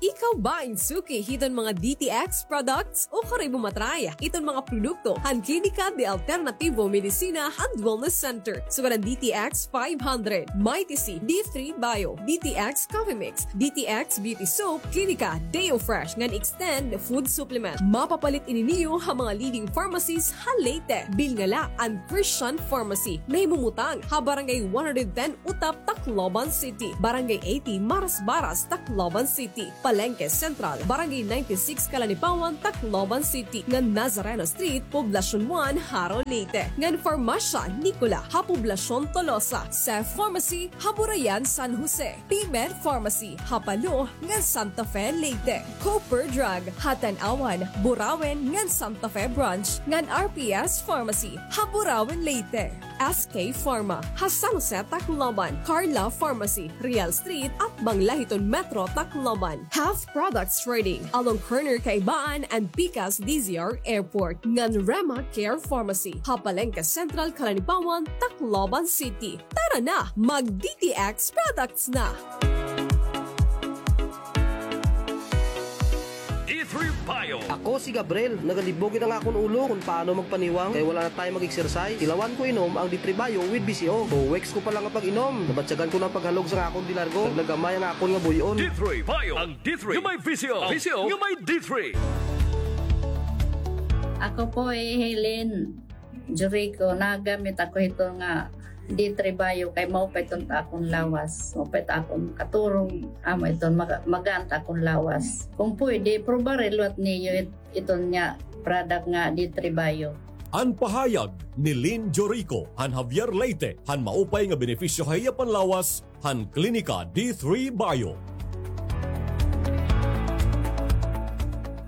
Ikaw Bain suki hiton mga D T X products ukon kay bumatray hiton mga produkto han Klinika de Alternativo Medicina and Wellness Center. Sugad an D T X five hundred, Mighty C, D three Bio, D T X Coffee Mix, D T X Beauty Soap, Klinika Deo Fresh ngan Extend Food Supplement. Mapapalit ini niyo ha mga leading pharmacies ha Leyte. Bilnga la an Christian Pharmacy. Nahimumutang ha Barangay one hundred ten Utap, Tacloban City, Barangay eighty Marasbaras, Tacloban City, Palengke Central, Barangay ninety-six Calanipawan, Tacloban City, ngan Nazareno Street, Poblacion one, Jaro, Leyte, ngan Farmasya Nicola ha Poblacion Tolosa, Cef Pharmacy ha Burayan, San Jose, P-Med Pharmacy ha Palo ngan Santa Fe, Leyte, Cooper Drug ha Tanauan, Burauen ngan Santa Fe Branch, ngan R P S Pharmacy ha Burauen, Leyte. S K Pharma ha San Jose, Tacloban, Carla Pharmacy, Real Street, atbang la hiton Metro Tacloban. Health Products Trading, along corner Kaibaan and Pikas D Z R Airport, ngan Rema Care Pharmacy ha Palengke Central, Calanipawan, Tacloban City. Tara na, mag D T X products na! D three Bio. Ako si Gabriel. Nagalibog gid an akon ulo kon paano magpaniwang kay wala na time mag-exercise. Tilawan ko inom ang D three Bio with V C O. Two weeks ko pa la nga pag-inom, nabatyagan ko na an paghalog sa akon dilargo. Naglagamay an akon nga buy-on. D three Bio. Ang D three nga may V C O. V C O nga may D three. Ako po hi Helen Jericho, nagamit ako hito nga D three Bio kay maupay iton ta akon lawas. Maupay ta akon katurog, amo iton maga-, magaan ta akon lawas. Kung pwede, probare liwat niyo it-, iton nga product nga D three Bio. An pahayag ni Lynn Jorico han Javier, Leyte, han maupay nga benepisyo ha iya panlawas han Klinika D three Bio.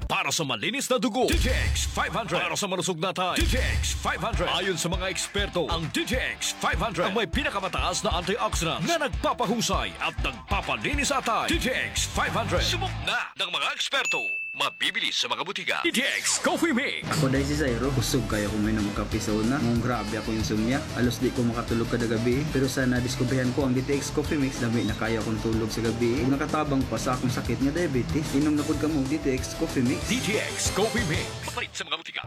Para sa malinis na dugo, D T X five hundred. Para sa malusog na atay, D T X five hundred. Ayon sa mga eksperto, ang D T X five hundred ang may pinakamataas na antioxidants na nagpapahusay at nagpapalinis sa atay. D T X five hundred. Subok na ng mga eksperto. Mabibili sa mga butika. D T X Coffee Mix. Ako dahi si Zairo, kusog kaayo ako moinom og kape sa una. Ngan grabe akon insomnia. Halos di ko makatulog kada gabii. Pero sa nadiskubrihan ko ang D T X Coffee Mix, lami na kaayo akon tulog sa gabii. Ug nakatabang pa sa akon sakit nga diabetes. Inom na pod kamo og D T X Coffee Mix. D T X Coffee Mix. Mapalit sa mga butika.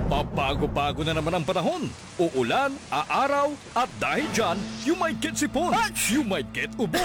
Pabago-bago na naman ang panahon. Uulan, aaraw, at dahil dyan, you might get sipon, you might get ubo,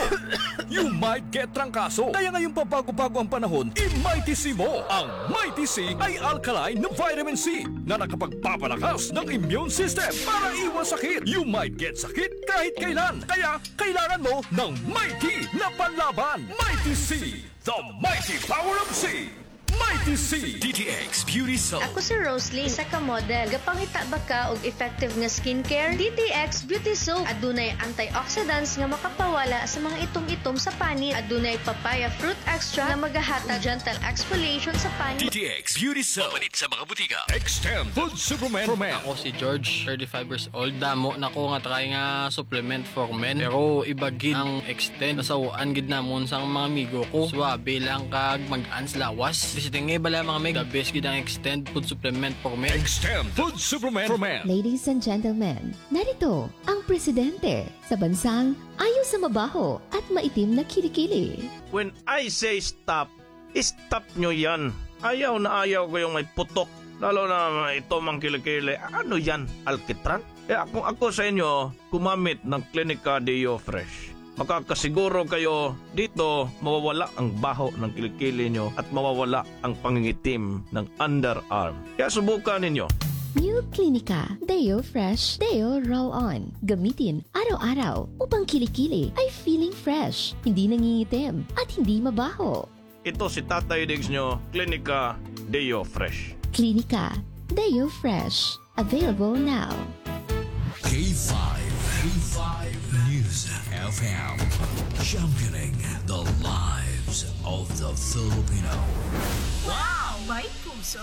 you might get trangkaso. Kaya ngayong pabago-bago ang panahon, i-Mighty C mo. Ang Mighty C ay alkaline na vitamin C na nakapagpapalakas ng immune system para iwas sakit. You might get sakit kahit kailan. Kaya kailangan mo ng Mighty na panlaban. Mighty C, the mighty power of C. Mighty C. D T X Beauty Soap. Ako si Rosalie, isa ka model. Gapangita ba ka og effective nga skincare? D T X Beauty Soap. Adunay antioxidants nga makapawala sa mga itom-itom sa panit. Adunay papaya fruit extract nga magahatag gentle exfoliation sa panit. D T X Beauty Soap. Mapalit sa mga butika. Extend Food Supplement for Men. Ako si George, thirty-five years old. Damo na ko nga try nga supplement for men. Pero iba gid ang Extend. Nasaw-an gid namon sang mga amigo ko. Suabe lang kag magaan sa lawas. Bisiting nga iba la mga mig. The best gid ang Extend Food Supplement for Men. Extend Food Supplement for Men. Ladies and gentlemen, narito ang presidente sa bansang ayaw sa mabaho at maitim na kilikili. When I say stop, stop nyo yan. Ayaw na ayaw ko yung may putok. Lalo na ito mang kilikili. Ano yan? Alkitran? Eh, kung ako sa inyo, gumamit ng Klinika Deo Fresh. Makakasiguro kayo dito mawawala ang baho ng kilikili nyo at mawawala ang pangingitim ng underarm. Kaya subukan ninyo. New Klinika Deo Fresh Deo Roll-On. Gamitin araw-araw upang kilikili ay feeling fresh, hindi nangingitim, at hindi mabaho. Ito si Tatay Diggs nyo, Klinika Deo Fresh. Klinika Deo Fresh. Available now. K five, K five News F M, championing the lives of the Filipino. Wow, may puso!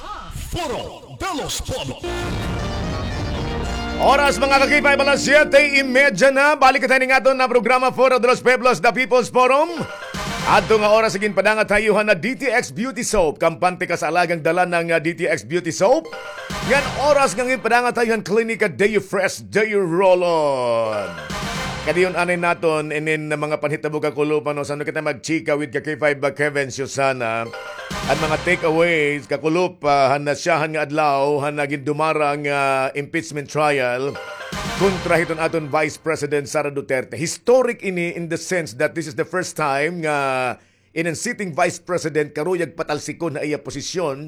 Foro de los Pueblos. Oras, mga ka-K five, alas siyete y media na. Balik kita ini nga aton na programa, Foro de los Pueblos, The People's Forum. Adto nga oras, sige, padangat ha iyo han D T X Beauty Soap. Kampante ka sa alagang dala ng, ah, D T X Beauty Soap. Ngan oras nga ngayon, padangat ha iyo han Klinika Deo Fresh Deo Roll-On. Kadayon anay naton inin mga panhitabo, kakulop, ano, san-o kita magchika with ka K five, ah, Kevin Susana. An mga takeaways, kakulop, ah, han nasyahan nga adlaw, han nagin dumarang, ah, impeachment trial kontra hiton aton Vice President Sara Duterte. Historic ini in the sense that this is the first time nga inin sitting Vice President karuyag patalsikon ha iya posisyon,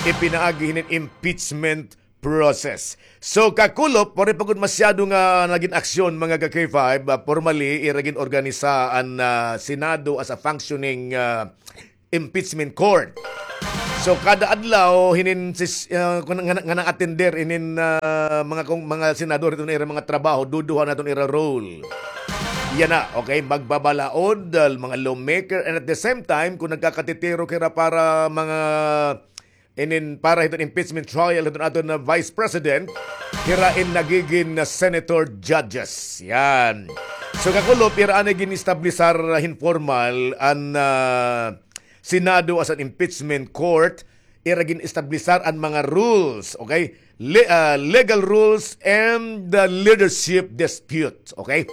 ipinaagi hinin impeachment process. So, kakulop, waray pa gud masyado nga nagin aksyon, mga ka K five, ah, formally, ira gin-organisa an, ah, Senado as a functioning, ah, impeachment court. So, kada adlaw, hinin sis-, ah, kun nga, nga na-attender, inin, ah, mga kung, mga senador, iton ira mga trabaho, duduha naton ira role. Yana, okay, magbabalaod, ah, mga lawmaker, and at the same time, kung nagkakatitiro kira para mga inin para hiton impeachment trial hiton aton na Vice President, hira in nagigin na senator judges. Yan. So, kakulop, ira anay gin-establisar hin formal an, ah, Senado as an impeachment court, ira gin-establisar an mga rules, okay? Le-, ah, legal rules and the leadership dispute. Okay?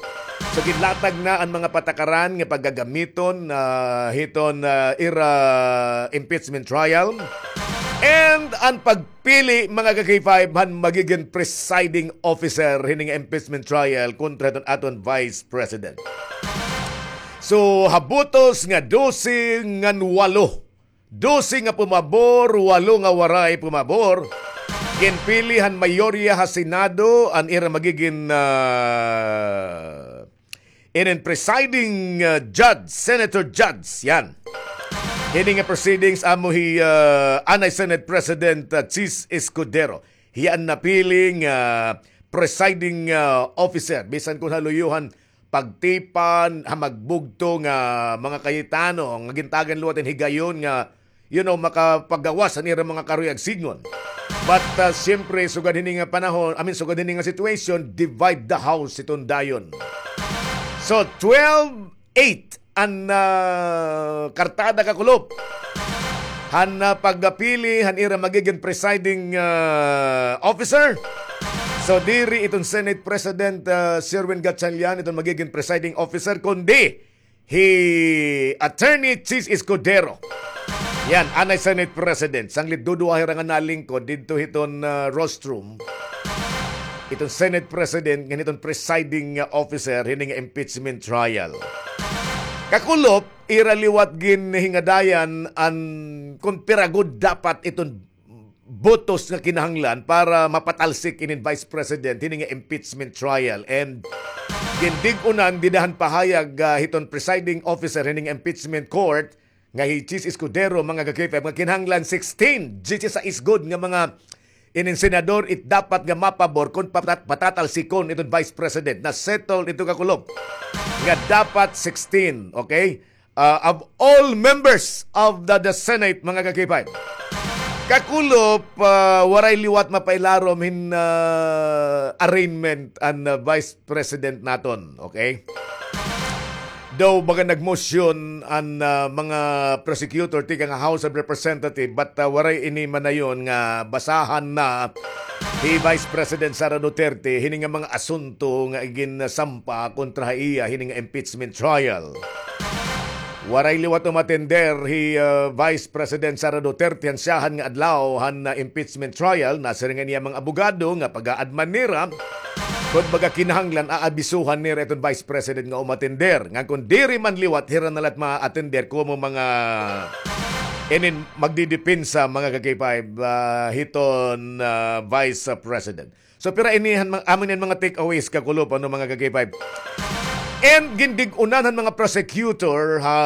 So, ginlatag na an mga patakaran nga pagagamiton, ah, hiton, ah, ira impeachment trial. And an pagpili, mga ka K five, han magigin presiding officer hini nga impeachment trial kontra hiton aton Vice President. So, ha botos nga dose ngan walo, dose nga pumabor, walo nga waray pumabor. Ginpili han mayorya ha Senado an ira magigin, ah, inin presiding, ah, judge, senator judge, yan. Hini nga proceedings amo hi, ah, anay Senate President, ah, Chiz Escudero. Hiya an napili nga presiding, ah, officer. Bisan kon ha luyohan, pagtipan ha magbugto nga mga Cayetano nga gintagan liwat hin higayon nga, you know, makapagawas han ira mga karuyag sidngon. But, ah, siyempre, sugad hini nga panahon, I mean, sugad hini nga situation, divide the house hiton dayon. So, twelve eight an, ah, kartada, kakulop, han, ah, pagpili han ira magigin presiding, ah, officer. So, diri iton Senate President, ah, Sherwin Gatchalian iton magigin presiding officer, kundi hi Attorney Chiz Escudero. Yan, anay Senate President. Sanglit duduha hira nga nalingkod didto hiton, ah, rostrum. Iton Senate President ngan hiton presiding, ah, officer hini nga impeachment trial. Kakulop, ira liwat ginhingadayan an kon pira gud dapat iton botos nga kinahanglan para mapatalsik inin Vice President hini nga impeachment trial. And gindig-unan dida han pahayag, ah, hiton presiding officer hini nga impeachment court nga hi Chiz Escudero, mga ka-K five, nga kinahanglan sixteen, diyesisais gud nga mga inin senador it dapat nga mapabor kon patat-, patatalsikon iton Vice President. Na-settle ito, kakulop, nga dapat sixteen, okay? Ah, of all members of the, the Senate, mga ka-K five. Kakulop, ah, waray liwat mapailarom hin, ah, arraignment an, ah, Vice President naton, okay? Daw baga nagmosyon an, ah, mga prosecutor tikang House of Representative, but, ah, waray ini manayon nga basahan na hi Vice President Sara Duterte hini nga mga asunto nga iginsampa kontra ha iya hini nga impeachment trial. Waray liwat umatender hi, ah, Vice President Sara Duterte han syahan nga adlaw han, ah, impeachment trial. Nasiring an iya mga abogado nga pag-aadman nira kon baga kinahanglan, aabisuhan nira iton Vice President nga umatender. Ngan kon diri man liwat, hira na la it ma-attender komo mga inin magdidepensa, mga ka-K five, ah, hiton, ah, Vice President. So, pira ini han mga, amo ini an mga takeaways, kakulop, ano, mga ka-K five. And gindig-unan han mga prosecutor ha,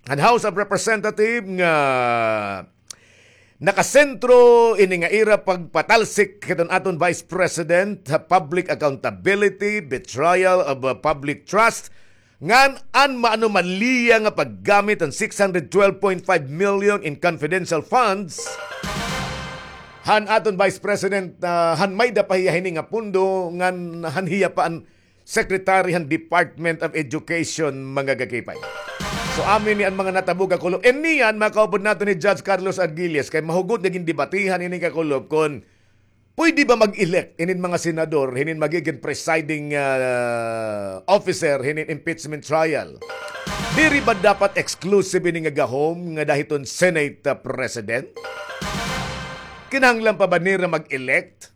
han House of Representative nga nakasentro ini nga ira pagpatalsik hiton aton Vice President ha public accountability, betrayal of, uh, public trust, ngan an maanomaliya nga paggamit han six hundred twelve point five million in confidential funds han aton Vice President, ah, han may-ada pa hiya hini nga pondo, ngan han hiya pa an Secretary han Department of Education, mga ka-K five. So, amo ini an mga natabo, kakulop. And niyan, makaupod naton ni Judge Carlos Arguelles, kay mahugot nga gindebatihan ini, kakulop, kon Pwede ba mag-elect inin mga senador, hinin magigin presiding, ah, officer, hinin impeachment trial? Diri ba dapat exclusive ini nga gahom nga dahiton Senate, ah, President? Kinahanglan pa ba nira mag-elect?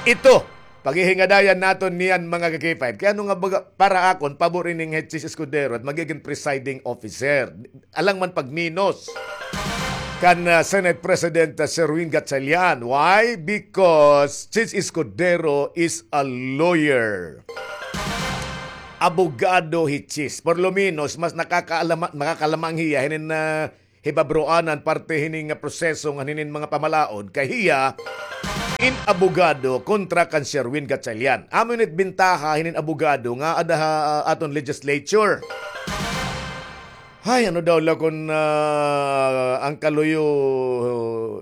Ito, paghihingadayan naton niyan, mga ka-K five. Kay ano nga baga, para akon, pabor ini nga hi Chiz Escudero it magigin presiding officer. Alang man pagminos kan, ah, Senate President, ah, Sherwin Gatchalian. Why? Because Chiz Escudero is a lawyer. Abogado hi Chiz. Por lo menos, mas nakakaalama-, makakalamang hiya hinin, ah, hibabroanan parte hini nga proseso ngan hinin mga pamalaod kay hiya in abogado kontra kan Sherwin Gatchalian. Amo ini it bintaha hinin abogado nga ada ha aton legislature. Hay, ano daw la kon, ah, an kaluyo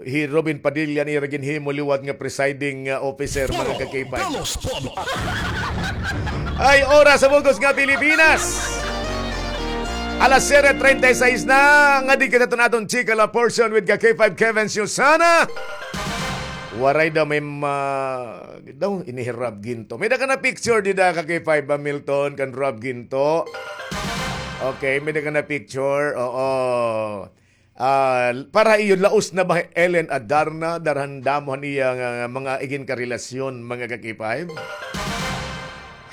hi Robin Padilla an ira ginhimo liwat nga presiding, ah, officer, mga ka-K five. Ay, oras sa bug-os nga Pilipinas. Alas siyete treinta y seis na, nga di kita tun aton chika la portion with ka-K five Kevin Susana. Waray daw may ma-, daw ini hi Rob Ginto. May da ka na picture dida ka-K five ba, Milton, kan Rob Ginto? Okay, may da ka na picture. Oo. Ah, para iyo, laos na ba hi Ellen Adarna, dara han damo han iya nga mga igin karelasyon, mga ka-K five?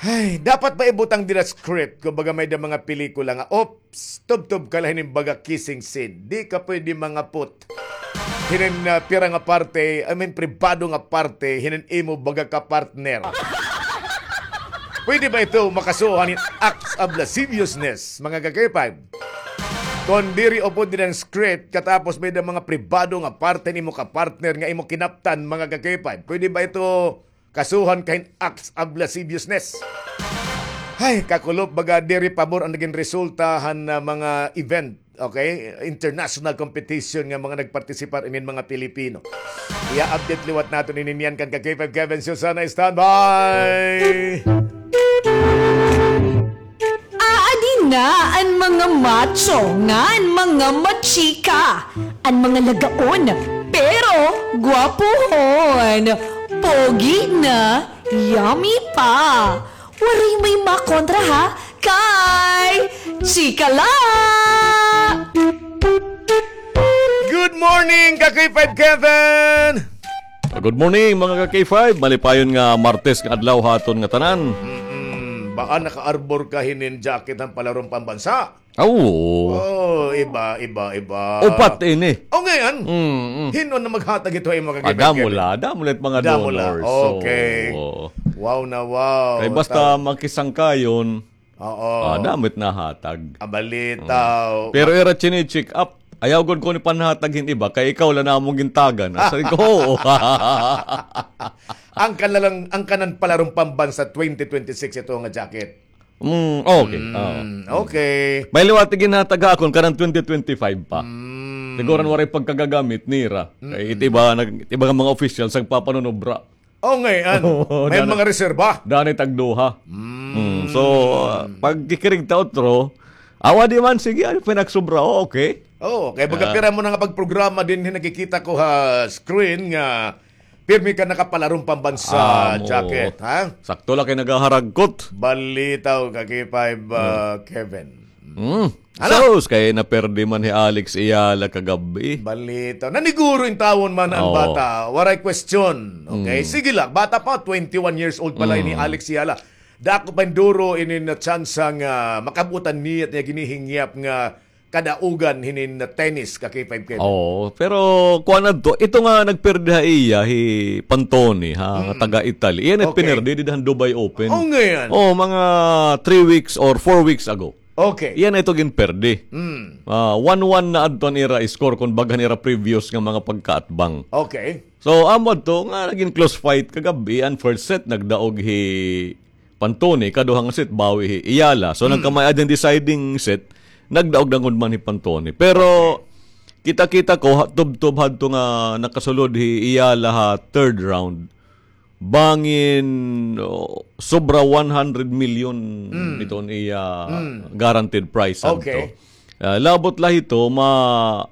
Ay, dapat ba ibutang dida script, kumbaga may da mga pelikula nga, oops, tubtob ka la hinin baga kissing scene. Di ka pwede mangapot hinin, ah, pira nga parte, I mean, pribado nga parte, hinin imo baga ka-partner. Pwede ba ito makasuhan hin acts of lasciviousness, mga ka-K five? Kon diri upod dida han script, katapos may da mga pribado nga parte nimo ka-partner nga imo kinaptan, mga ka-K five, pwede ba ito kasuhan ka hin acts of lasciviousness? Hay, kakulop, baga diri pabor an nagin resulta han, ah, mga event, okay? International competition nga mga nagpartisipar inin mga Pilipino. Iya-update liwat naton ini niyan kan ka-K five Kevin Susana. Standby! Aadi na an mga macho ngan mga machika, an mga lagaon, pero gwapohon, pogi na, yummy pa. Waray may makontra ha, kay chika la! Good morning, ka-K five Kevin! Ah, good morning, mga ka-K five. Malipayon nga Martes nga adlaw ha aton ngatanan. Mm-mm. Baka naka-arbor ka hinin jacket han Palarong Pambansa. Aw, oo. Oh, iba, iba, iba. Upat ini. O, ngay-an. Mm, mm. Hin-o an maghatag hito ha imo, ka-K five Kevin? Ah, damo la, damo la it mga donors. Damo la. Okay. Oo. Wow na wow. Kay basta makisangkayon, Oo. Ah, damo it nahatag. Ah, balitaw. Mm. Pero ira chini-check up. Ayaw gud ko ni panhatag hin iba, kay ikaw la namon gintagan. Asa ko, oo. An kana la, an kanan Palarong Pambansa twenty twenty-six ito nga jacket. Mm, okay. Mm, oo. Okay. May liwat it ginhatag ha akon, kanan twenty twenty-five pa. Mm. Siguro waray pagkagagamit nira. Kay it iba, nag-, it iba nga mga officials, nagpapanunubra. Oh, ngay-an. Oo, may mga reserba. Dani tagduha. Mm. Mm, so, ah, pagkikirig ta utro, awa di man, sige, ano, pinagsubra, oh, okay. Oh, kay baga pira mo na nga pagprograma dinhi nakikita ko ha screen nga pirmi ka naka-Palarong Pambansa jacket, ha? Sakto la kay nagaharagkot. Balitaw, ka-K five, ah, Kevin. Mm. Ano? Sus, kay naperde man hi Alex Eala kagab-i. Balita. Naniguro intawon man an bata. Waray question. Okay? Mm. Sige la, bata pa, twenty-one years old pa la ini Alex Eala. Dako pa hin duro ini nga tsansa nga makab-otan niya it iya ginihingyap nga kadaugan hinin tennis, ka-K five Kevin. Oo, pero kuan adto, ito nga nagperde ha iya, hi Pantoni, ha, nga taga Italy. Iyan it pinerde dida han Dubai Open. Oh, ngay-an. Oh, mga three weeks or four weeks ago. Okay. Iyan na ito ginperde. Mm. Ah, one one na adto an ira score kon bag-o han ira previous nga mga pagkaatbang. Okay. So, amo adto nga nagin close fight kagab-i, an first set nagdaog hi Pantoni, kaduha nga set bawi hi Eala. So, nagkamay-ada an deciding set, nagdaog na gud man hi Pantoni. Pero kita-kita ko, ha, tubtob hadto nga nakasulod hi Eala ha third round. Bangin, oh, sobra one hundred million iton iya guaranteed prize adto. Okay. Ah, labot la hito, ma-,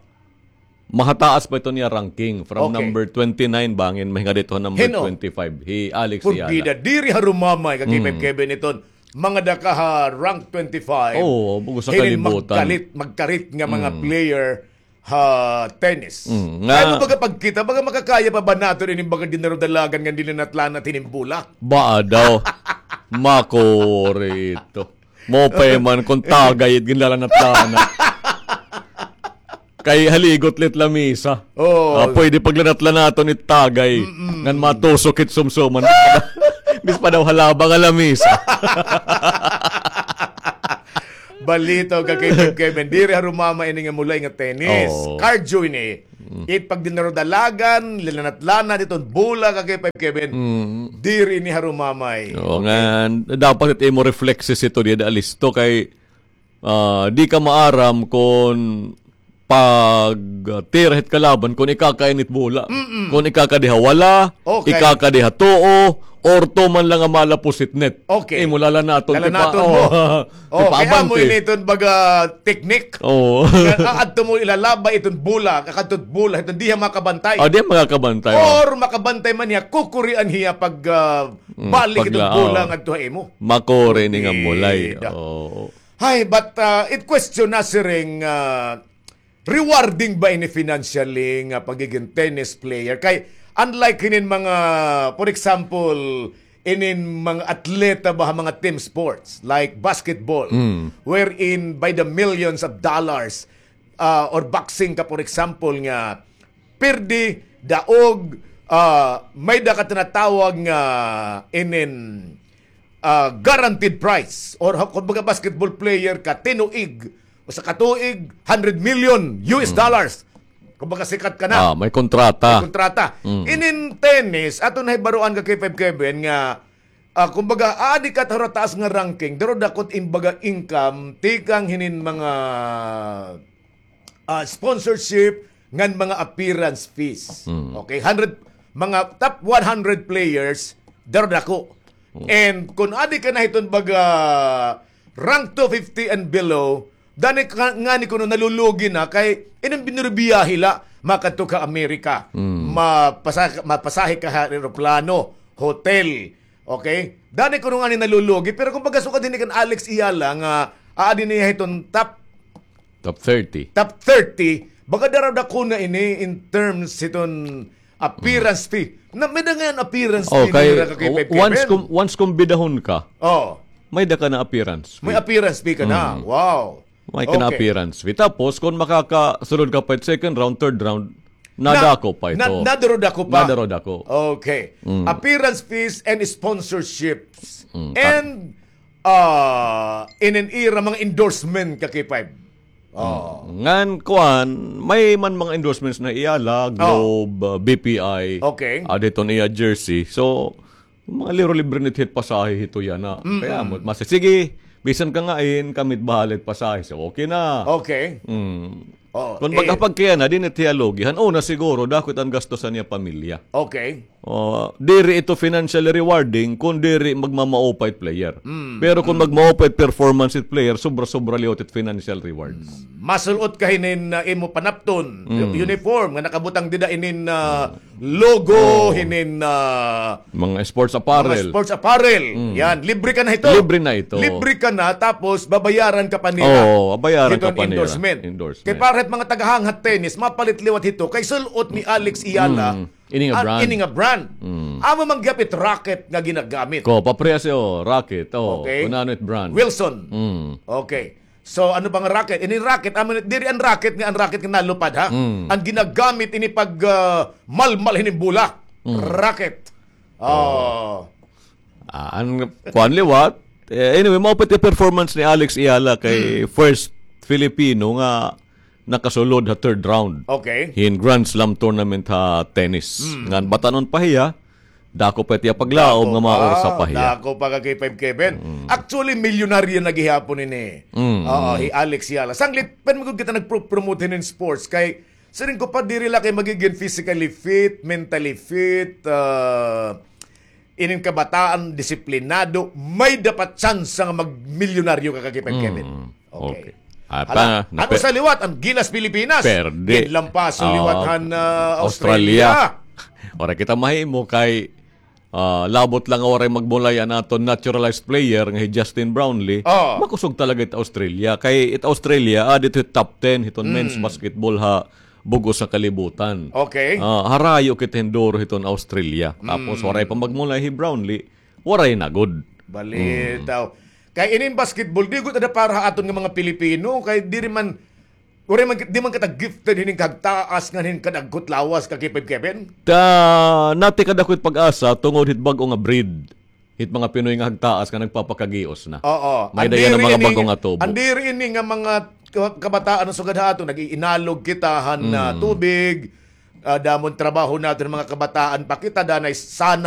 Mahataas pa iton iya ranking. From Okay. number twenty-nine bangin, mahinga didto ha number Hin-o? twenty-five. Hi Alex Eala. Porbida, diri harumamay ka K five Mm. Kevin iton. Mga daka ha rank twenty-five. Oo, bug-os ha Hinin kalibutan. magkalit, magkarit nga mga Mm. player ha tennis. Mm, Kay nga baga pagkita, baga makakaya pa ba naton ini baga dinarudalagan nga dinanatlanat hinin bola? Baa daw. Makuri ito. Maupay man kon tagay it ginlalanat-lanat. Kay haligot la it lamisa. Oo. Ah, pwede paglanat-lanaton it tagay. Mm-mm. Ngan matusok it sumsuman. Bis pa daw halaba nga lamisa. Balitaw ka kay Kevin. Diri harumamay ini nga mulay nga tennis. Oo. Cardio ini. Mm. It pagdinarudalagan, linanat-lanat iton bola ka kay Kevin. Mm. Diri ini harumamay. Oo, Okay. nga, dapat it imo reflexes ito, dida listo kay, ah, di ka maaram kon pagtira hit kalaban, kon ikakain it bola. Mm-mm. Kon ikakadi ha wala, Okay. ikakadi ha tuo, or tuman la nga malapos it net. Okay. Imo lalanaton, Lalanaton tipa-, mo. oh, Oh, tipa kay amo abante. ini iton baga teknik. Oo. Nga, ah, adto mo ilalabay iton bola, kakadto it bola, iton diha makabantay. Ah, diha makakabantay, oh. Or makabantay man hiya, kukurian hiya pag, ah, Mm, balik iton pagla-, bola oh. ngadto ha imo. Makuri ini nga mulay. Ida. Oo. Hay, but, ah, it question na siring, ah, rewarding ba ini financially nga pagiging tennis player? Kay unlike hinin mga, for example, inin mga atleta ba ha mga team sports like basketball, Mm. wherein by the millions of dollars, ah, or boxing ka, for example, nga pirdi, daog, ah, may da ka tinatawag nga inin, ah, guaranteed prize. Or ha-, kumbaga, basketball player ka, tinuig, usa ka tuig, hundred million U S Mm. dollars. Kumbaga, sikat ka na. Ah, may kontrata. May kontrata. Mm. Inin tennis, aton nahibaroan ka kay Five Kevin nga, ah, kumbaga, aadi ka ha taas nga ranking, daro dako it im baga income, tikang hinin mga, ah, sponsorship, ngan mga appearance fees. Mm. Okay, hundred, mga top one hundred players, daro dako. Mm. And kon adi ka na hiton baga rank two fifty and below, dani ka, ngani kuno nalulugi na kay inin binurbiyahe la, makadto ka Amerika, Mm. mapasa-, mapasahe ka ha eroplano, hotel, okay? Dani kuno ngani nalulugi, pero kumbaga sukad hini kan Alex Eala nga aadi niya hiton top Top thirty. Top thirty, baga daro dako na ini in terms hiton appearance fee. Na, may da ngay-an appearance fee Okay, nira ka kay o-, Pep once Kevin. kum-, once kumbidahon ka, Oh. may da ka na appearance fee. May appearance fee ka na. Mm. Wow. May ka na Okay. appearance fee. Tapos, kung makakasulod ka pa second round, third round, Na, nadako pa na, ito. Nadaro dako pa. Nadaro dako. Okay. Mm. Appearance fees and sponsorships. Mm, And, ah, inin ira mga endorsement ka K five. Oh. Mm. Ngan, kuan, may man mga endorsements na Eala, Oh. Globe, ah, B P I, Okay. ah, dito niya jersey. So, mga liro libre nit hit pasahe hito yana. Mm-mm. Kaya mo, mas, sige, bisan ka nga in, kami it bahala hit pasahe. So, okay na. Okay. Mm. Oh, Kung eh, magkapag kaya na, di nit hiya lugi. Han una siguro, dako it an gasto sa niya pamilya. Okay. Oh, diri ito financially rewarding kung diri magmamaupay it player. Mm, Pero kung mm. magmaupay it performance it player, sobra-sobra liwat it financial rewards. Mm. Masul-ot ka hinin, ah, imo panapton, Mm. uniform, nga nakabutang dida inin, ah, Mm. logo, Oh. hinin, ah, Mga sports apparel. mga sports apparel. Mm. Yan, libre ka na hito. Libre na ito. Libre ka na, tapos babayaran ka pa nila. Oo, babayaran ka Hiton pa nila. endorsement. Endorsement. Kay para hit mga tagahanghat tennis, mapalit liwat hito kay sul-ot ni Alex Eala Mm. Ini nga Ah, brand. ini nga brand. Mm. Amo man gihap it racket nga ginagamit. Ko, paprehas, oh, racket. Oh, Okay. kun ano it brand. Wilson. Mm. Okay. So, ano ba nga racket? Ini racket, amo ni, diri an racket nga, an racket nga nalupad, ha? Mm. An ginagamit ini pag, ah, malmal hinin bola. Mm. Racket. Oh. Oh. Ah, an kuan liwat. Eh, anyway, maupay it performance ni Alex Eala kay Mm. first Filipino nga nakasulod ha third round. Okay. Hin Grand Slam tournament ha tennis. Mm. Ngan batan-on pa hiya, dako pa it iya paglaom Dako nga mga pa, orsa pa hiya. dako pa ka K five Kevin. Mm. Actually, milyonaryo na gihapon ini. Mm. Oo, hi Alex Eala. Sanglit, pwede man gud kita nagpro-, promote hinin sports kay siring ko pa diri la kay magiging physically fit, mentally fit, ah, inin kabataan, disiplinado, may dapat tsansa nga magmilyonaryo ka ka K five Kevin. Mm. Okay. Okay. Apa, Hala, na ano pe- sa liwat, an Gilas Pilipinas? Perde. Ginlampaso Ah, liwat han, ah, Australia. Australia. Waray kita mahimo kay, ah, labot la nga waray magmulay an aton naturalized player nga hi Justin Brownlee. Oh. Makusog talaga it Australia. Kay it Australia, ah, didto hit top ten hiton Mm. men's basketball ha bug-os nga kalibutan. Okay. Ah, harayo kita hin duro hiton Australia. Tapos Mm. waray pa magmulay hi Brownlee, waray na gud. Balitaw. Mm. Kay inin basketball, di gud ada para ha aton nga mga Pilipino, kay diri man, waray man, di man kita gifted hinin kahagtaas ngan hin kadagko hit lawas, Ka Kevin. Ta, natikad ako hit pag-asa tungod hit bag-o nga breed hit mga Pinoy nga hagtaas nga nagpapakagios na. Oo. May-ada yana mga bag-o nga tubo. An diri ini nga mga ka-, kabataan nga sugad ha aton, nag-iinalog kita han, ah, Mm. tubig, ah, damo hin trabaho naton mga kabataan pa kita, danay sana